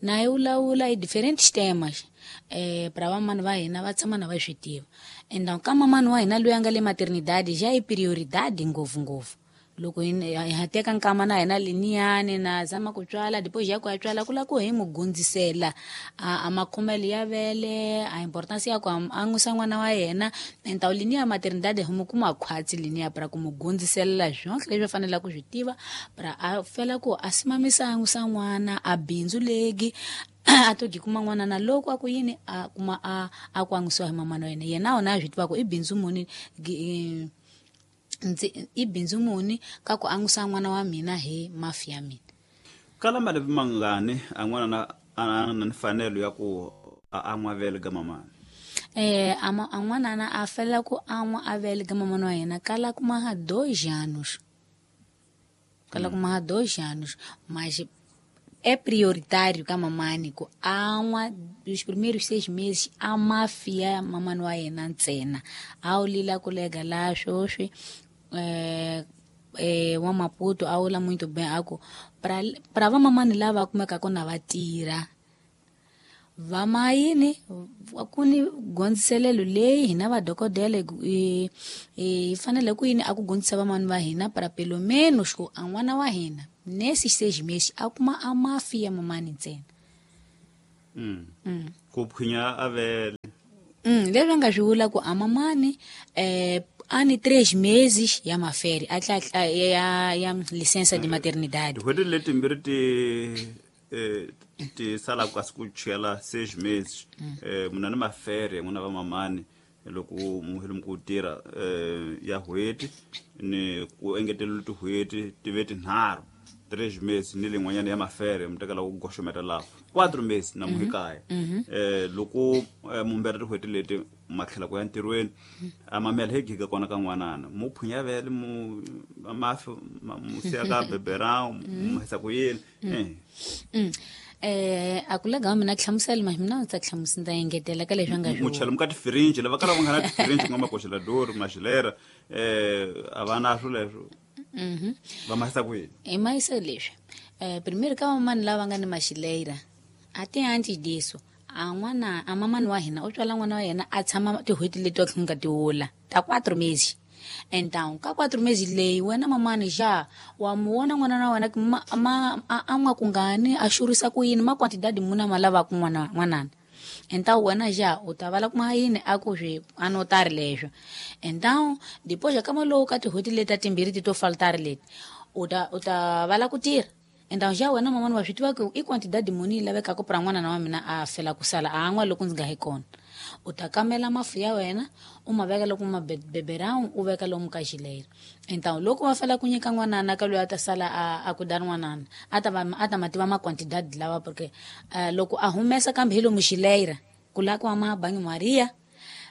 [SPEAKER 4] na hi vulavula hi diferentes temas eh para vamani va hina va tshama na va swi tiva. Então ka mamani wa hina loyi a nga le maternidade já i prioridade ngopfu ngopfu. Loko hi ha teka nkama na hina liniyani na zama ku tswala, depois ya ku ya tswala ku lava ku hi mu gundzisela a, a makhomelo ya vele, a importance ya ku an'wisa n'wana wa yena. Então liniya maternidade hi mu kuma khwatsi liniya para ku mu gundziselela swonke leswi a fanelaka ku swi tiva para a fela ku a simamisa an'wisa n'wana a bindzu legi a to gi kuma n'wana na loko a ku yini a kuma a a ku an'wisiwa hi mamana wa yena. Yena wona a swi tiva ku i bindzu muni gi, ndzi i bindzu muni ka ku an'wisa n'wana wa mina hi mafi ya mina.
[SPEAKER 3] Kala malembe mangani a n'wana na a na mfanelo ya ku a an'wa vele ga mamana?
[SPEAKER 4] Eh a n'wana na a fela ku an'wa a vele ga mamana wa yena kala kuma ha dois anos. Kala kuma ha dois anos, mas é prioritário ka mamani ku an'wa os primeiros seis meses a mafia mamani wa yena ntsena. A wu lila ku lega la swoswi eh eh, wa Maputo a vula muito bem a ku pra pra vamamani lava kumekaka na va tirha vamayini ku ni gondziselelo leyi hina vadokodela hi hi fanele ku yini a ku gondzisa vamani va hina para pelo menos ku a n'wana wa hina nesse seis meses a kuma a mafi ya mamani ntsena.
[SPEAKER 3] Mm. Mm. Ku phwinya a vele.
[SPEAKER 4] Mm, leswi a nga swi vula ku a mamani eh ani três meses ya mafere a tla ya ya licença de maternidade.
[SPEAKER 3] Tin'hweti letimbirhi ti eh ti sala kasi ku chela seis meses eh muna ni mafere n'wina va mamani loko muheli ku tirha eh ya n'hweti ni ku engetelela tin'hweti ti ve tinharhu três meses ni lin'wanyana ya mafere mi tekela ku goxometa laha quatro meses na muhikaya eh loko mumbera tin'hweti leti ma tlhela ku ya ntirhweni a mamela hi giga kona ka n'wanana mu phwinya vele mu mafi mu siya ka beberão mu hisa ku yini eh
[SPEAKER 4] eh a ku lega mina hlamusela ma mina ndzi ta hlamusela ndza engetela ka leswi nga
[SPEAKER 3] mu chela mu ka tifirinji lava kala va nga na tifirinji ku nga makoxelador maxilera eh a va na swo leswo.
[SPEAKER 4] Mhm.
[SPEAKER 3] Va mahisa ku yini?
[SPEAKER 4] I mahisa leswi. Eh primeiro ka vamani lava nga ni maxileira a ti antes disso a n'wana a mamani wa hina u tswala n'wana wa yena a tshama tin'hweti leti wa nga ti wula ta quatro meses. Então ka quatro meses leyi wena mamani já wa mu vona n'wana wa wena ma, ma a nwa kungani a xurisa ku yini ma quantidade muna ma lavaka n'wana n'wanana. Então wena já u ta vala kuma yini a ku swi anotari leswo. Então depois ya kama lowu ka tin'hweti leti ta timbirhi ti to faltari leti u ta u ta vala ku tirha. Então já wena mamani wa swi tiva ku i quantidade muni yi lavekaka pra n'wana wa mina a fela ku sala a nwa loko ndzi nga hi kona. U ta kamela mafu ya wena u ma veka loko ma beberão u veka lomu ka xileira. Então loko va fela ku nyika n'wanana ka loyi a ta sala a a ku da n'wanana a ta va a ta ma tiva ma quantidade lawa porque uh, loko a humesa kambe hi lomu xileira ku la ku ma banho Maria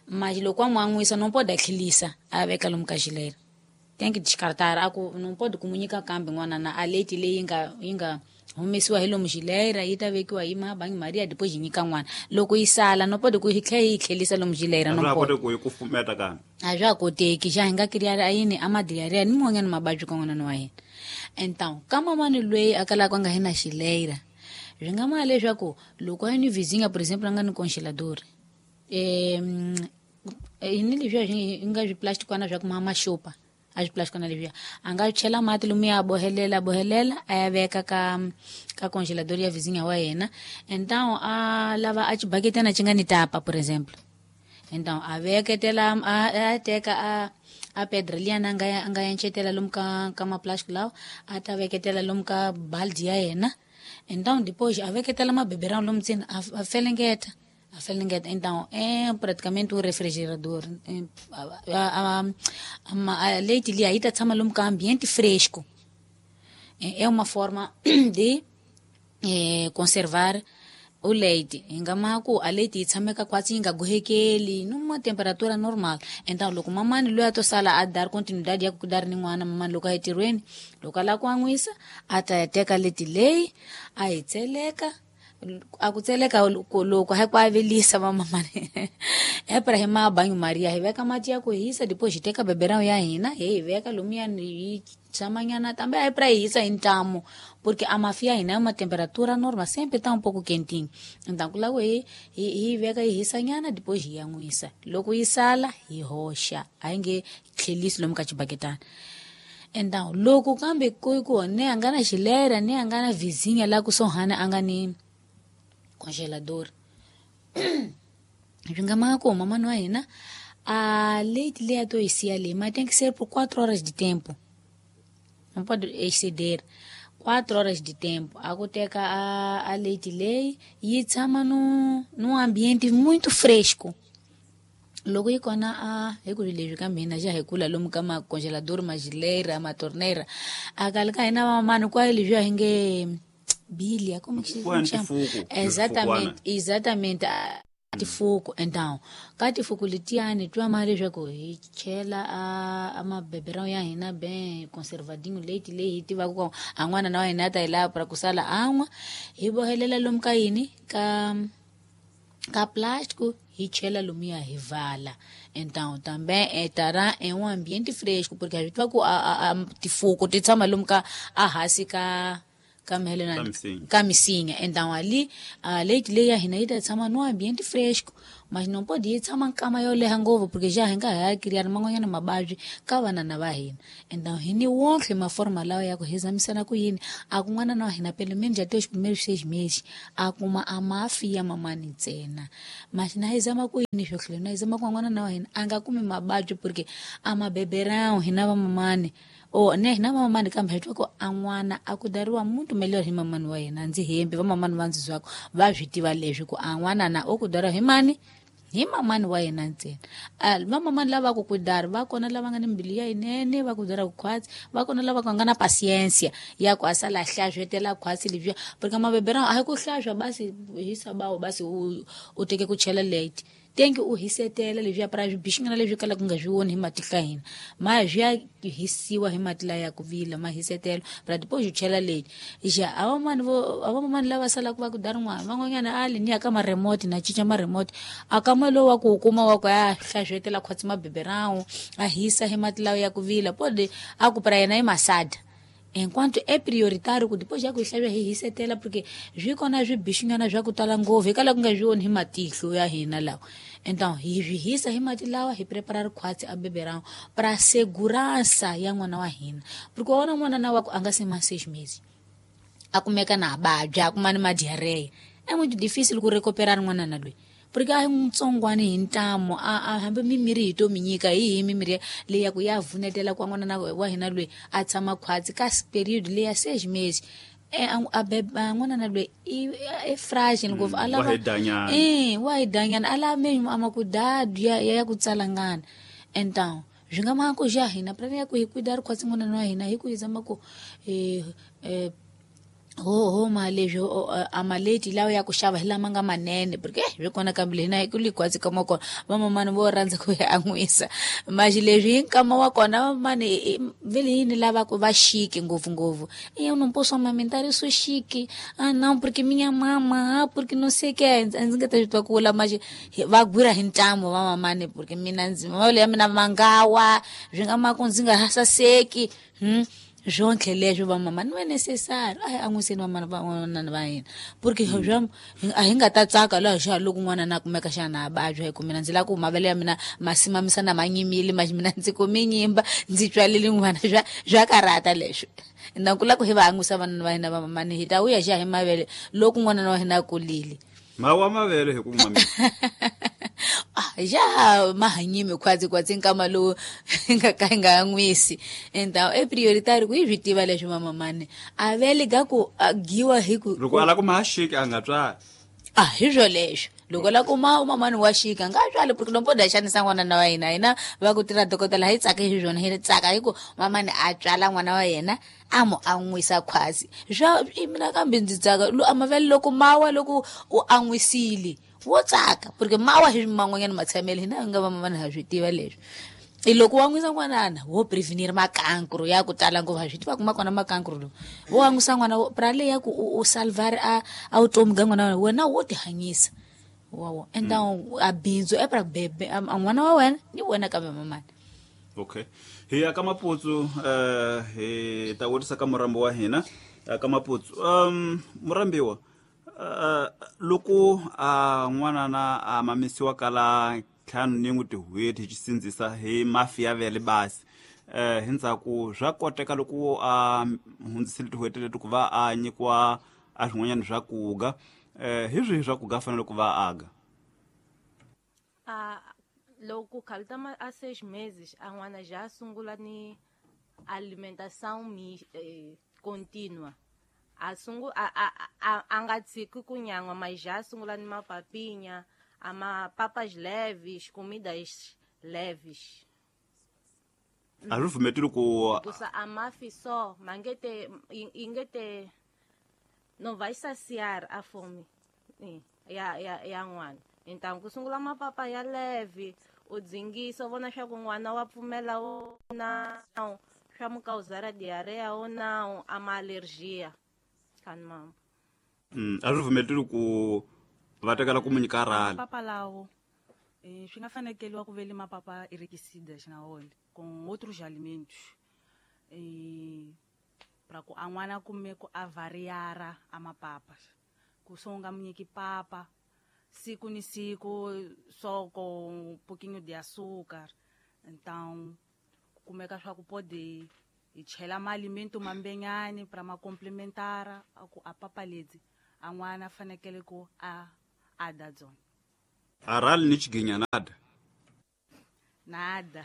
[SPEAKER 4] mas loko a n'wan'wisa não pode tlhelisa a veka lomu ka xileira. Tem que descartar a ku não pode ku nyika kambe n'wanana a leite leyi nga yi nga humesiwa hi lomu xileira yi ta vekiwa hi ma banho Maria depois yi nyika n'wana loko yi sala no pode ku yi tlhela yi tlhelisa lomu xileira no
[SPEAKER 3] pode ku yi kufumeta kambe
[SPEAKER 4] a swa koteki xa hi nga kiriari a yini a madiarrhea ni mun'wanyana mavabyi ka n'wanana wa hina. Então ka mamani loyi a kalaka a nga hi na xileira swi nga ma leswaku loko a ni vizinha por exemplo a nga ni congelador eh ni leswiya swi nga swiplastikwana swa ku ma maxopa a swiplastikwana leswiya a nga chela mati lomu ya bohelela bohelela a ya veka ka ka congelador ya vizinha wa yena. Então a lava a xibaketana xi nga ni tapa por exemplo. Então a veketela a teka a a pedra liyana a nga a nga encetela lomu ka ka maplastic lawa a ta veketela lomu ka baldi ya yena. Então depois a veketela mabeberão lomu ndzeni a felengeta a felengeta. Então é praticamente um refrigerador. A, a, a, a leite liya yi ta tshama lomu ka ambiente fresco. É uma forma de eh, conservar o leite. Hi nga ma ku a leite yi tshameka kwatsi yi nga gohekeli numa temperatura normal. Então loko mamani loyi a to sala a dar continuidade ya ku dar ni n'wana mamani loko a yi tirhweni loko a lava ku an'wisa a ta ya teka leti leyi a yi tseleka a ku tseleka loko hi ku avelisa vamamani e pra hi ma banho Maria hi veka mati ya ku hisa depois hi teka beberão ya hina hi yi veka lomuya yi tshamanyana também aí pra hisa hi ntamu porque a mafi ya hina é uma temperatura normal sempre tá um pouco quentinho. Então ku lava hi hi veka yi hisanyana depois hi yan'wisa loko yi sala hi hoxa a yi nge tlhelisi lomu ka xibaketana. Então loko kambe ku ku ne a nga na xilera ne a nga na vizinha la kusuhani a nga ni congelador swi nga maka ku mamani wa hina a leite leyi a to yi siya leyi mas tem que ser por quatro horas de tempo, não pode exceder quatro horas de tempo. A ku teka a, a leite leyi yi tshama num, num ambiente muito fresco. Loko yi kona a hi ku leswi ka mina xa hi kula lomu ka macongelador maxileira matorneira a kale ka hina vamamani kwaye leswiya hi nge bilia como que se chama? Exatamente, exatamente. Tifuku. Então ka tifuku letiyani twa ma leswaku hi chela a a mabeberão ya hina bem conservadinho leite leyi hi tivaka ku a n'wana na wa hina a ta yi lava pra ku sala a nwa hi bohelela lomu ka yini ka Ka plástico hi chela lomuya hi vala. Então também estará em um ambiente fresco, porque a gente vai com a, a, a tifuco ti tshama lomu ka a hansi ka ka mhelena ka misinya. Então ali a leite leyi ya hina yi ta tshama no ambiente fresco, mas não pode yi tshama nkama yo leha ngopfu porque já hi nga ha criar man'wanyana mavabyi ka vanana va hina. Então hi ni wonke maforma lawa ya ku hi zamisana ku yini a ku n'wana na wa hina pelo menos até os primeiros seis meses a kuma a mafi ya mamani ntsena. Mas na hi zama ku yini swo hlula na hi zama ku n'wana na wa hina a nga kumi mavabyi porque a mabeberão hina va mamani o ne hina va mamani kambe hi twa ku a n'wana a ku dariwa muito melhor hi mamani wa yena. Ndzi hembi va mamani va ndzi zwako va swi tiva leswi ku a n'wana na o ku dariwa hi mani hi mamani wa yena ntsena. Va mamani lava ku ku dari va kona lava nga ni mbilu ya yinene va ku dara ku khwatsi, va kona lava ku nga na pasiensia ya ku a sala hlaswetela khwatsi lebyiya porque mabeberão a hi ku hlaswa basi hi sabawu basi u u teke ku chela late tenki u hisetela leswiya para swibixingana leswi kalaka ku nga swi voni hi matihlo ya hina ma swi ya hisiwa hi mati laya ya ku vila ma hisetela para depois u chela late xa a vamani vo a vamani lava salaka va ku dari n'wana van'wanyana a li ni ya ka ma-remote na cinca ma-remote a kama lowu wa ku wu kuma wa ku ya hlaswetela khwatsi mabeberão a hisa hi mati lawa ya ku vila pode a ku para yena i masada. Enquanto é prioritário ku depois já ku hlaswa hi hisetela porque swi kona swibixingana swa ku tala ngopfu hikwalaho ku nga swi voni hi matihlo ya hina lawa. Então hi swi hisa hi mati lawa hi prepara rikhwatsi a beberão para segurança ya n'wana wa hina porque wa vona n'wana na wa ku a nga se ma seis meses a kumeka na vabya a kuma ni madiarreia é muito difícil ku recuperar n'wana na loyi porque a hi ntsongwani hi ntamu a a hambi mimirhi hi to mi nyika hi hi mimirhi leyi ya ku ya vunetela ku n'wana na wa hina loyi a tshama khwatsi ka period leyi ya seis meses e a beba n'wana na loyi i i fragile ngopfu a lava eh wa hi danyana a lava mesmo a makudadu ya ya ku tsalangana. Então swi nga maka ku xa hina pra ya ku hi cuidar khwatsi n'wana wa hina hi ku hi zama ku eh eh ho ho ma leswi a maleti lawa ya ku xava hi lama nga manene porque swi kona kambe hina hi ku likhwatsi ka kona vamamani vo rhandza ku ya an'wisa maxi leswi hi nkama wa kona vamamani vele yini lava ku va chique ngopfungopfu eu não posso amamentar eu sou chique ah não porque minha mama ah porque não sei que ndzi nga ta swi twa ku vula maxi va gwira hi ntamu vamamani porque mina ndzi mavele ya mina mangawa swi nga maka ndzi nga saseki hmm swonke leswi va mama não é necessário a hi an'wiseni vamana van'wana va hina porque swa a hi nga ta tsaka laha xa loko n'wana na kumeka xana a vabya hi ku mina ndzi lava ku mavele ya mina ma simamisa na ma nyimile ma mina ndzi kume nyimba ndzi tswalele n'wana swa swa karhata leswi na ku lava ku hi va an'wisa vanana va hina va mamani hi ta vuya xa hi mavele loko n'wana wa hina a kulile
[SPEAKER 3] mawa mavele hi ku mamisa
[SPEAKER 4] ah já mahanyimi khwatsi khwatsi nkama lowu nga ka nga an'wisi. Então é prioritário ku hi swi tiva leswi mamamani a vele ga ku giwa hi ku
[SPEAKER 3] loko a lava ku ma xika a nga tswali
[SPEAKER 4] ah hi swo leswo loko la kuma mamani wa xika nga tswali porque não pode xanisa n'wana na wa hina hina va ku tirha dokodela hi tsaka hi swona hi tsaka hi ku mamani a tswala n'wana wa yena a mu an'wisa khwatsi swa mina kambe ndzi tsaka a mavele loko mawa loko u an'wisile wo tsaka porque mawa hi man'wanyana matshamele hina hi nga va mamani ha swi tiva leswi i loko wa n'wisa n'wanana wo prevenir makankro ya ku tala ngopfu ha swi tiva ku ma kona makankro lowu wo an'wisa n'wana pra leyi ya ku u salvar a a vutomi ga n'wana wa wena wo tihanyisa wawo então a bindzu e pra bebe a n'wana wa wena ni wena kambe mamani.
[SPEAKER 3] Okay hi ya ka Maputsu eh hi ta vutisa ka murambi wa hina ka Maputsu um murambiwa Uh, loko a uh, n'wana na a mamisiwa kala ntlhanu ni n'wi tin'hweti hi xisindzisa hi mafi ya vele basi eh hi ndzhaku swa koteka loko a hundzisile tin'hweti leti ku va a nyikiwa a swin'wanyana swa kuga eh hi swihi swa kuga fanele ku va aga
[SPEAKER 6] a loko khalta a seis meses a n'wana já sungula ni alimentação eh, contínua a sungu a a a, a nga tshiki ku nyan'wa mas já sungula ni mapapinya a mapapas leves comidas leves
[SPEAKER 3] a swi pfumeteli ku
[SPEAKER 6] kusa a mafi só mangete ingete não vai saciar a fome ya ya ya n'wana então ku sungula mapapa ya leve u dzingisa u vona swa ku n'wana wa pfumela ou não swa mu causar diarreia ou não a ma alergia.
[SPEAKER 3] Mm, a swi pfumeteli ku Va tekela ku mu nyika rali.
[SPEAKER 7] Mapapa lawo eh, swi nga fanekeliwa ku vele mapapa enriquecidas na wona com outros alimentos eh, para ku a n'wana kume ku a variara a mapapa ku so u nga mu nyiki papa siku ni siku só com um pouquinho de açúcar. Então kumeka swa ku pode hi chela maalimento mambenyani para ma complementar a ku a papa ledzi a n'wana fanekele ku a a da dzona.
[SPEAKER 3] A rali ni xiginya nada.
[SPEAKER 6] Nada.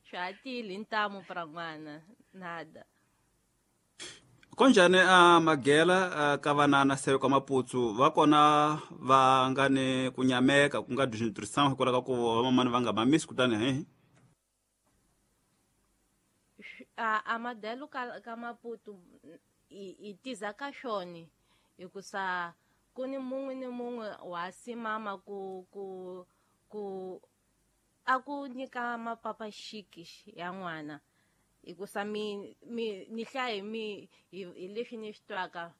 [SPEAKER 6] Swa tile ntamu para n'wana nada.
[SPEAKER 3] Konjani a magela ka vanana se ka maputsu va kona va nga ni ku nyameka ku nga desnutrition hikwalaho ka ku vamamani va nga mamisi kutani he
[SPEAKER 6] a a madelo ka ka Maputo i i tiza ka xoni hikusa ku ni mun'we ni mun'we wa simama ku ku ku a ku nyika mapapa xiki ya n'wana hikusa mi mi ni hlaye mi hi hi leswi ni swi twaka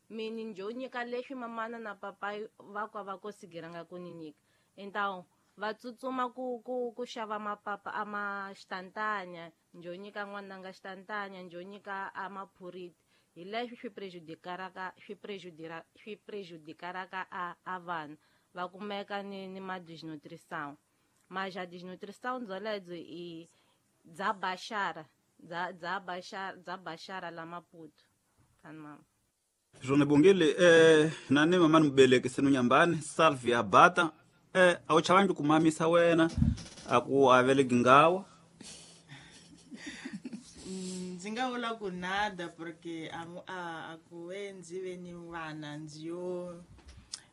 [SPEAKER 6] mi ni njo nyika leswi mamana na papa va kwa va kosigiranga ku ni nyika. Então va tsutsuma ku ku ku xava mapapa a ma xitantanya njo nyika n'wananga xitantanya njo nyika a maphuriti hi leswi swi prejudicaraka swi prejudira swi prejudicaraka a a vana va kumeka ni ni ma desnutrição. Mas a desnutrição dzoledzo i dza baxara dza dza baxara dza baxara la Maputo tani mama.
[SPEAKER 3] Swona bongile eh nani mama ni mubeleki senu nyambani Salvia Bata eh a wu chavangi ku mamisa wena a ku aveleki ngawa.
[SPEAKER 5] Ndzi nga vula ku nada porque a a a ku ve ndzi ve ni vana ndzi yo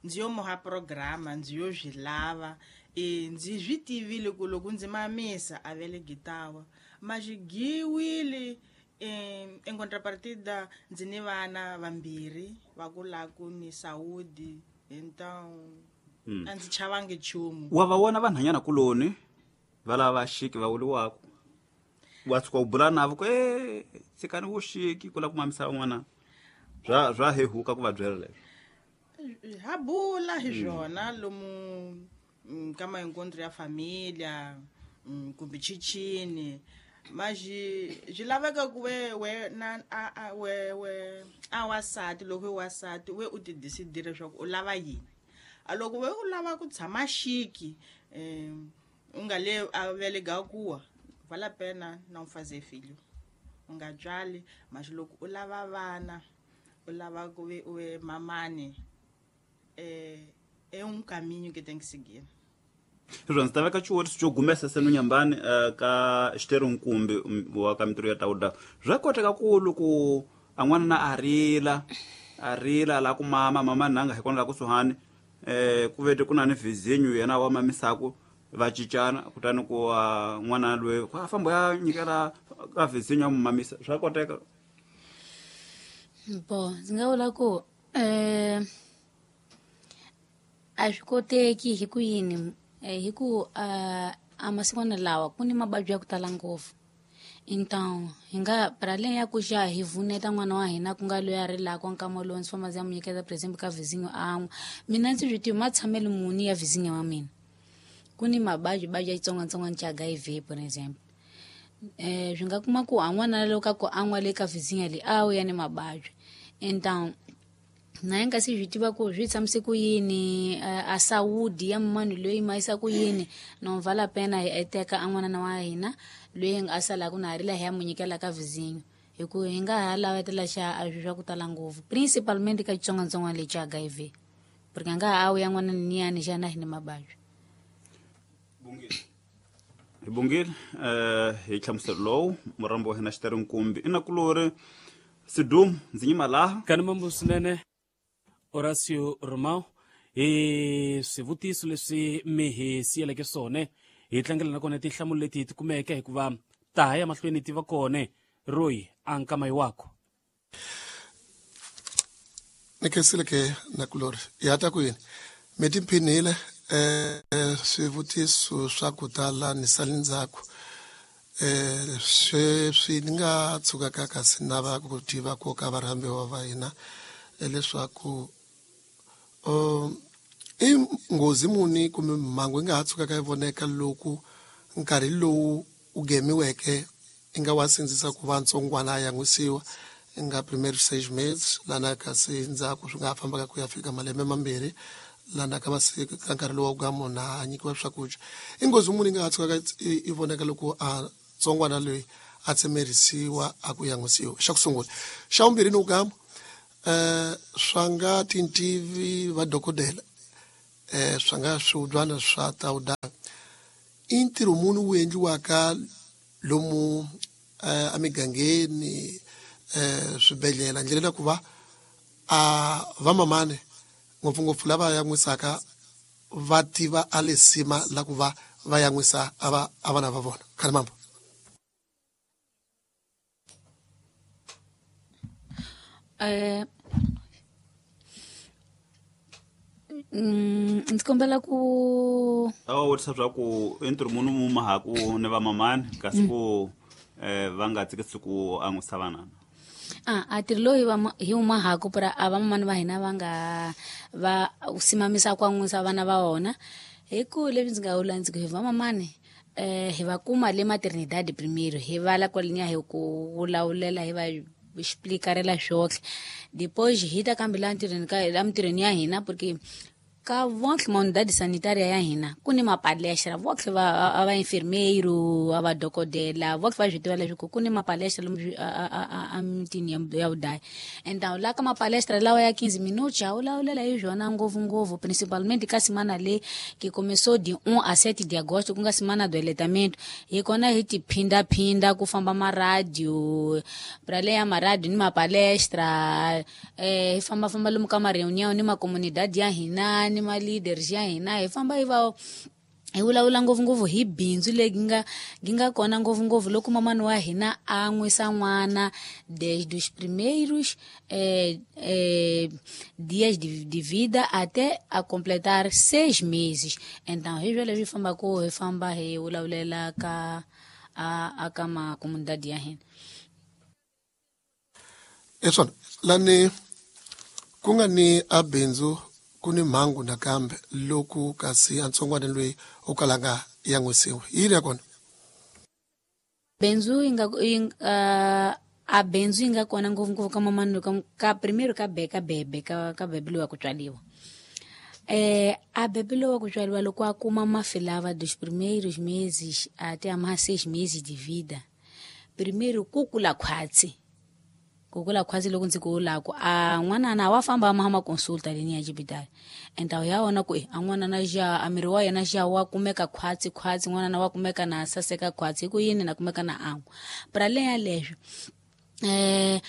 [SPEAKER 5] ndzi yo moha programa ndzi yo swi lava e ndzi swi tivile ku loko ndzi mamisa a veleki tawa ma xi giwile em em contrapartida ndzi ni vana vambirhi va ku la ku ni saúde então a ndzi chavangi nchumu.
[SPEAKER 3] Wa va vona vanhanyana kuloni va lava xiki va vuliwaka wa tshuka u bula navo ku e tshikani vuxiki ku lava ku mamisa van'wana swa swa hehuka ku va byela leswo.
[SPEAKER 5] Ha bula hi swona lomu ka maencontro ya família kumbe chichini mas swi laveka ku we we na a a we we a wasati loko i wasati we u ti decidire leswaku u lava yini. A loko we u lava ku tshama xiki um u nga le a velega kuwa vale a pena não fazer filho u nga tswali. Mas loko u lava vana u lava ku ve u ve mamani é é um caminho que tem que seguir.
[SPEAKER 3] Sweswo ndzi ta veka xivuriso xo gumesa senu nyambani ka Xiteri Nkumbi wa ka mintirho ya Tawuda. Swa koteka ku loko a n'wana na a rila a rila la ku mama mama nanga hi kona la kusuhani eh ku vete ku na ni vizinyo yena wa mamisaku va cincana kutani ku n'wana loyi ku a famba ya nyikela ka vizinyo ya mamisa swa koteka.
[SPEAKER 4] Bo ndzi nga vula ku eh a swi koteki hi ku yini hi ku a masikwana lawa ku ni mavabyi ya ku tala ngopfu. Então hi nga para além ya ku xa hi vuneta n'wana wa hina ku nga loyi a rilaka nkama lowu ndzi famba ndzi ya mu nyiketa por exemple ka vizinyo an'we mina ndzi swi tivi matshamelo muni ya vizinyo wa mina ku ni mavabyi vabyi ya xitsongwatsongwana xa H I V por exemple eh swi nga kuma ku a n'wana loko ka ku an'wa le ka vizinyo leyi a wu ya ni mavabyi. Então na hi nga si swi tiva ku swi tshamise ku yini a saúde ya munhu loyi ma yisa ku yini no vale a pena hi teka a n'wana wa hina loyi a salaka na rila hi ya mu nyikela ka vizinyo hi ku hi nga ha lavetela xa a swi swa ku tala ngopfu principalmente ka xitsongwatsongwana lexi xa H I V porque a nga ha wu ya n'wana niyani xana hi ni mavabyi.
[SPEAKER 3] Hi bongile eh hi hlamuselo lowu murambo wa hina Xiteri Nkumbi i nakulori Sidumu ndzi nyima laha
[SPEAKER 2] kani mambo swinene Horacio Romão hi swivutiso leswi mi hi siyeleke swona hi tlangela na kona tinhlamulo leti hi ti kumeke hikuva ta ha ya mahlweni ti va kona Roy a nkama wako.
[SPEAKER 1] Ni khensile ke nakulori ya ta ku yini mi tiphinile eh swivutiso swa ku tala ni sali ndzhaku eh sweswi ni nga tshukaka kasi na va ku tiva ku ka varhambiwa va hina leswaku um I nghozi muni kumbe mhangu yi nga ha tshukaka yi voneka loko nkarhi lowu u gemiweke i nga wa sindzisa ku va ntsongwana a yan'wisiwa i nga primary seis meses lana kasi ndzhaku swi nga ha fambaka ku ya fika malembe mambirhi lana ka masiku ka nkarhi lowu ka munhu a nyikiwa swakudya. I nghozi muni yi nga ha tshukaka i voneka loko a ntsongwana loyi a tsemerisiwa a ku yan'wisiwa? Xa ku sungula. Xa vumbirhi ni gama eh swa nga tintivi va dokodela eh swa nga swiudyana swa tawuda i ntirho muni wu endliwaka lomu eh emigangeni eh swibedhlele ndlela ku va a vamamane ngopfungopfu lava yan'wisaka va tiva a lesima la ku va va yan'wisa a va a vana va vona. Khalimambo.
[SPEAKER 4] Eh mm ndzi kombela ku
[SPEAKER 3] a vutisa swa ku i ntirho muni mu mahaku ni vamamani kasi ku eh va nga tsikisi ku an'wisa vanana.
[SPEAKER 4] Ah, a ntirho lowu hi va hi wu mahaku pra a vamamani va hina va nga va simamisa ku an'wisa vana va vona hi ku leswi ndzi nga vula ndzi ku hi vamamani eh hi va kuma le maternidade primeiro hi vala kwaleniya hi ku vulavula hi va explicarela swotlhe depois hi ta kambe la ntirhweni ka la mintirhweni ya hina porque ka vontlhe ma unidade sanitária ya hina ku ni mapalestra vontlhe va a va enfermeiro a va dokodela vontlhe va swi tiva leswaku ku ni mapalestra lomu a mitini ya vudaya. Então la ka mapalestra lawa ya quinze minutos a wulavulela hi swona ngopfungopfu principalmente ka semana leyi que começou de um a sete de agosto ku nga semana do aleitamento hi kona hi ti phindaphinda ku famba maradio pra leya maradio ni mapalestra eh hi fambafamba lomu ka ma-reunião ni macomunidade ya hina ni ma-leaders ya hina hi famba hi va hi vulavula ngopfungopfu hi bindzu leyi nga gi nga kona ngopfungopfu loko mamani wa hina a nwisa n'wana desde os primeiros eh, eh, dias de, de vida até a completar seis meses. Então hi sweswo leswi fambaka hi famba hi vulavulela ka a, a ka macomunidade ya hina.
[SPEAKER 1] Eswona lani ku nga ni a bindzu ku ni mhangu nakambe loko kasi a ntsongwana loyi o kalanga yan'wisiwa yini ya kona?
[SPEAKER 4] Bindzu yi nga uh, a bindzu yi nga kona ngopfungopfu ka mamani ka, ka primeiro ka be ka bebe ka, ka bebe loyi wa ku tswaliwa eh a bebe loyi wa ku tswaliwa loko a kuma mafi lava dos primeiros meses até a mais seis meses de vida primeiro ku kula khwatsi ku kula khwatsi loko ndzi ku vulaku a n'wanana wa famba a ma consulta leni ya xibedhlele então ya vona ku a n'wanana xa a miri wa yena xa wa kumeka khwatsi khwatsi n'wanana wa kumeka na saseka khwatsi hi ku yini na kumeka na an'wa pra le yaleswo eh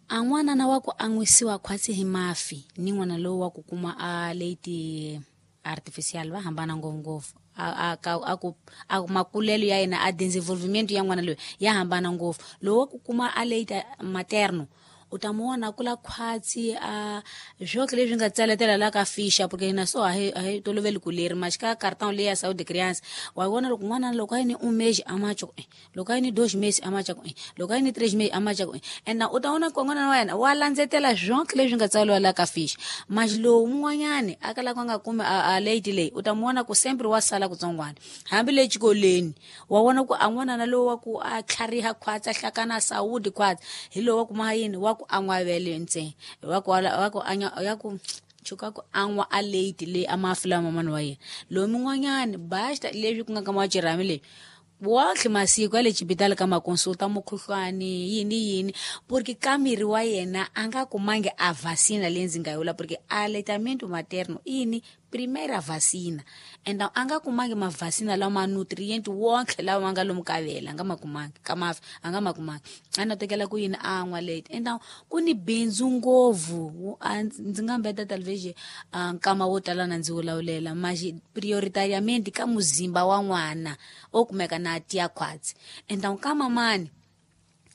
[SPEAKER 4] a n'wanana wa ku an'wisiwa khwatsi hi mafi ni n'wana lowu wa ku kuma a leite artificial va hambana ngopfungopfu a a a ku a makulelo ya yena a desenvolvimento ya n'wana loyi ya hambana ngopfu lowu wa ku kuma a leite materno u ta mu vona kula khwatsi a swotlhe leswi nga tsaletela la ka ficha porque hina so a hi a hi toloveli ku leri maxi ka cartão leyi ya saúde criança wa vona loko n'wana loko a yi ni um mês a macha ku loko a yi ni dois meses a macha ku loko a yi ni três meses a macha ku and u ta vona ku n'wana wa yena wa landzetela swotlhe leswi nga tsariwa la ka ficha maxi lowu mun'wanyani a kalaka a nga kumi a leite leyi u ta mu vona ku sempre wa sala kutsongwana hambi le xikolweni wa vona ku a n'wanana lowu wa ku a tlhariha khwatsi a hlakana saúde khwatsi hi lowu wa kuma yini wa ku an'wa vele ntsena wa ku wa ku anya ya ku chuka ku an'wa a leite leyi a mafi lama mamani wa yena lowu min'wanyani basta leswi ku nga ka machirhami leyi wotlhe masiku ya le xibedhlele ka makonsulta mukhuhlwani yini yini porque ka miri wa yena a nga kumangi a vacina leyi ndzi nga yi vula porque aleitamento materno ini primeira vacina and a nga kumangi mavacina lama nutrient wonke lawa ma nga lomu ka vele a nga ma kumangi ka mafi a nga ma kumangi a na tekela ku yini a nwa late and ku ni bindzu ngopfu ndzi nga mbeta talvez nkama wo tala na ndzi wulavulela maxi prioritariamente ka muzimba wa n'wana o kumeka na tiya khwatsi and ka mamani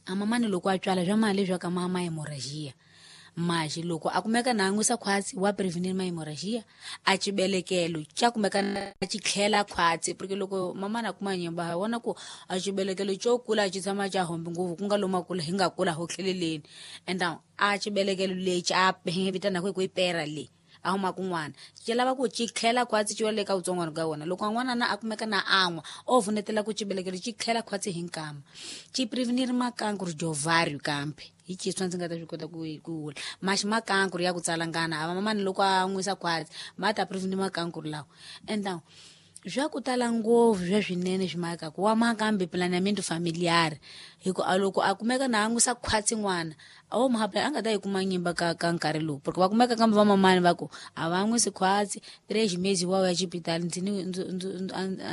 [SPEAKER 4] a mamani loko a tswala swa mali leswaku ma ma hemorrhagia maxi loko a kumeka na an'wisa khwatsi wa prevenir ma hemorrhagia a xibelekelo xa kumeka na xi tlhela khwatsi porque loko mamana a kuma nyimba ha vona ku a xibelekelo xo kula xi tshama xa hombi ngopfu ku nga lomu kula hi nga kula ho tlheleleni and a xibelekelo lexi a hi vitanaka hi ku i pera leyi a huma kun'wana ci lava ku ci tlhela khwatsi ci wa le ka vutsongwana ka wona loko n'wana na a kumeka na an'wa o vunetela ku cibelekelo ci tlhela khwatsi hi nkama ci prevenir makankuru jovario kambe hi chiswa ndzi nga ta swi kota ku ku vula maxi makankuru ya ku tsalangana a vamamani loko a nwisa khwatsi ma ta prevenir makankuru lawa and swa ku tala ngopfu swa swinene swi makaku wa makambe planeamento familiar hi ku a loko a kumeka na an'wisa khwatsi n'wana a wo muhapla a nga ta yi kuma nyimba ka ka nkarhi lowu porque va kumeka kambe vamamani va ku a va nwisi khwatsi tres mezi wa ya xipitali ndzi ni ndzi ndzi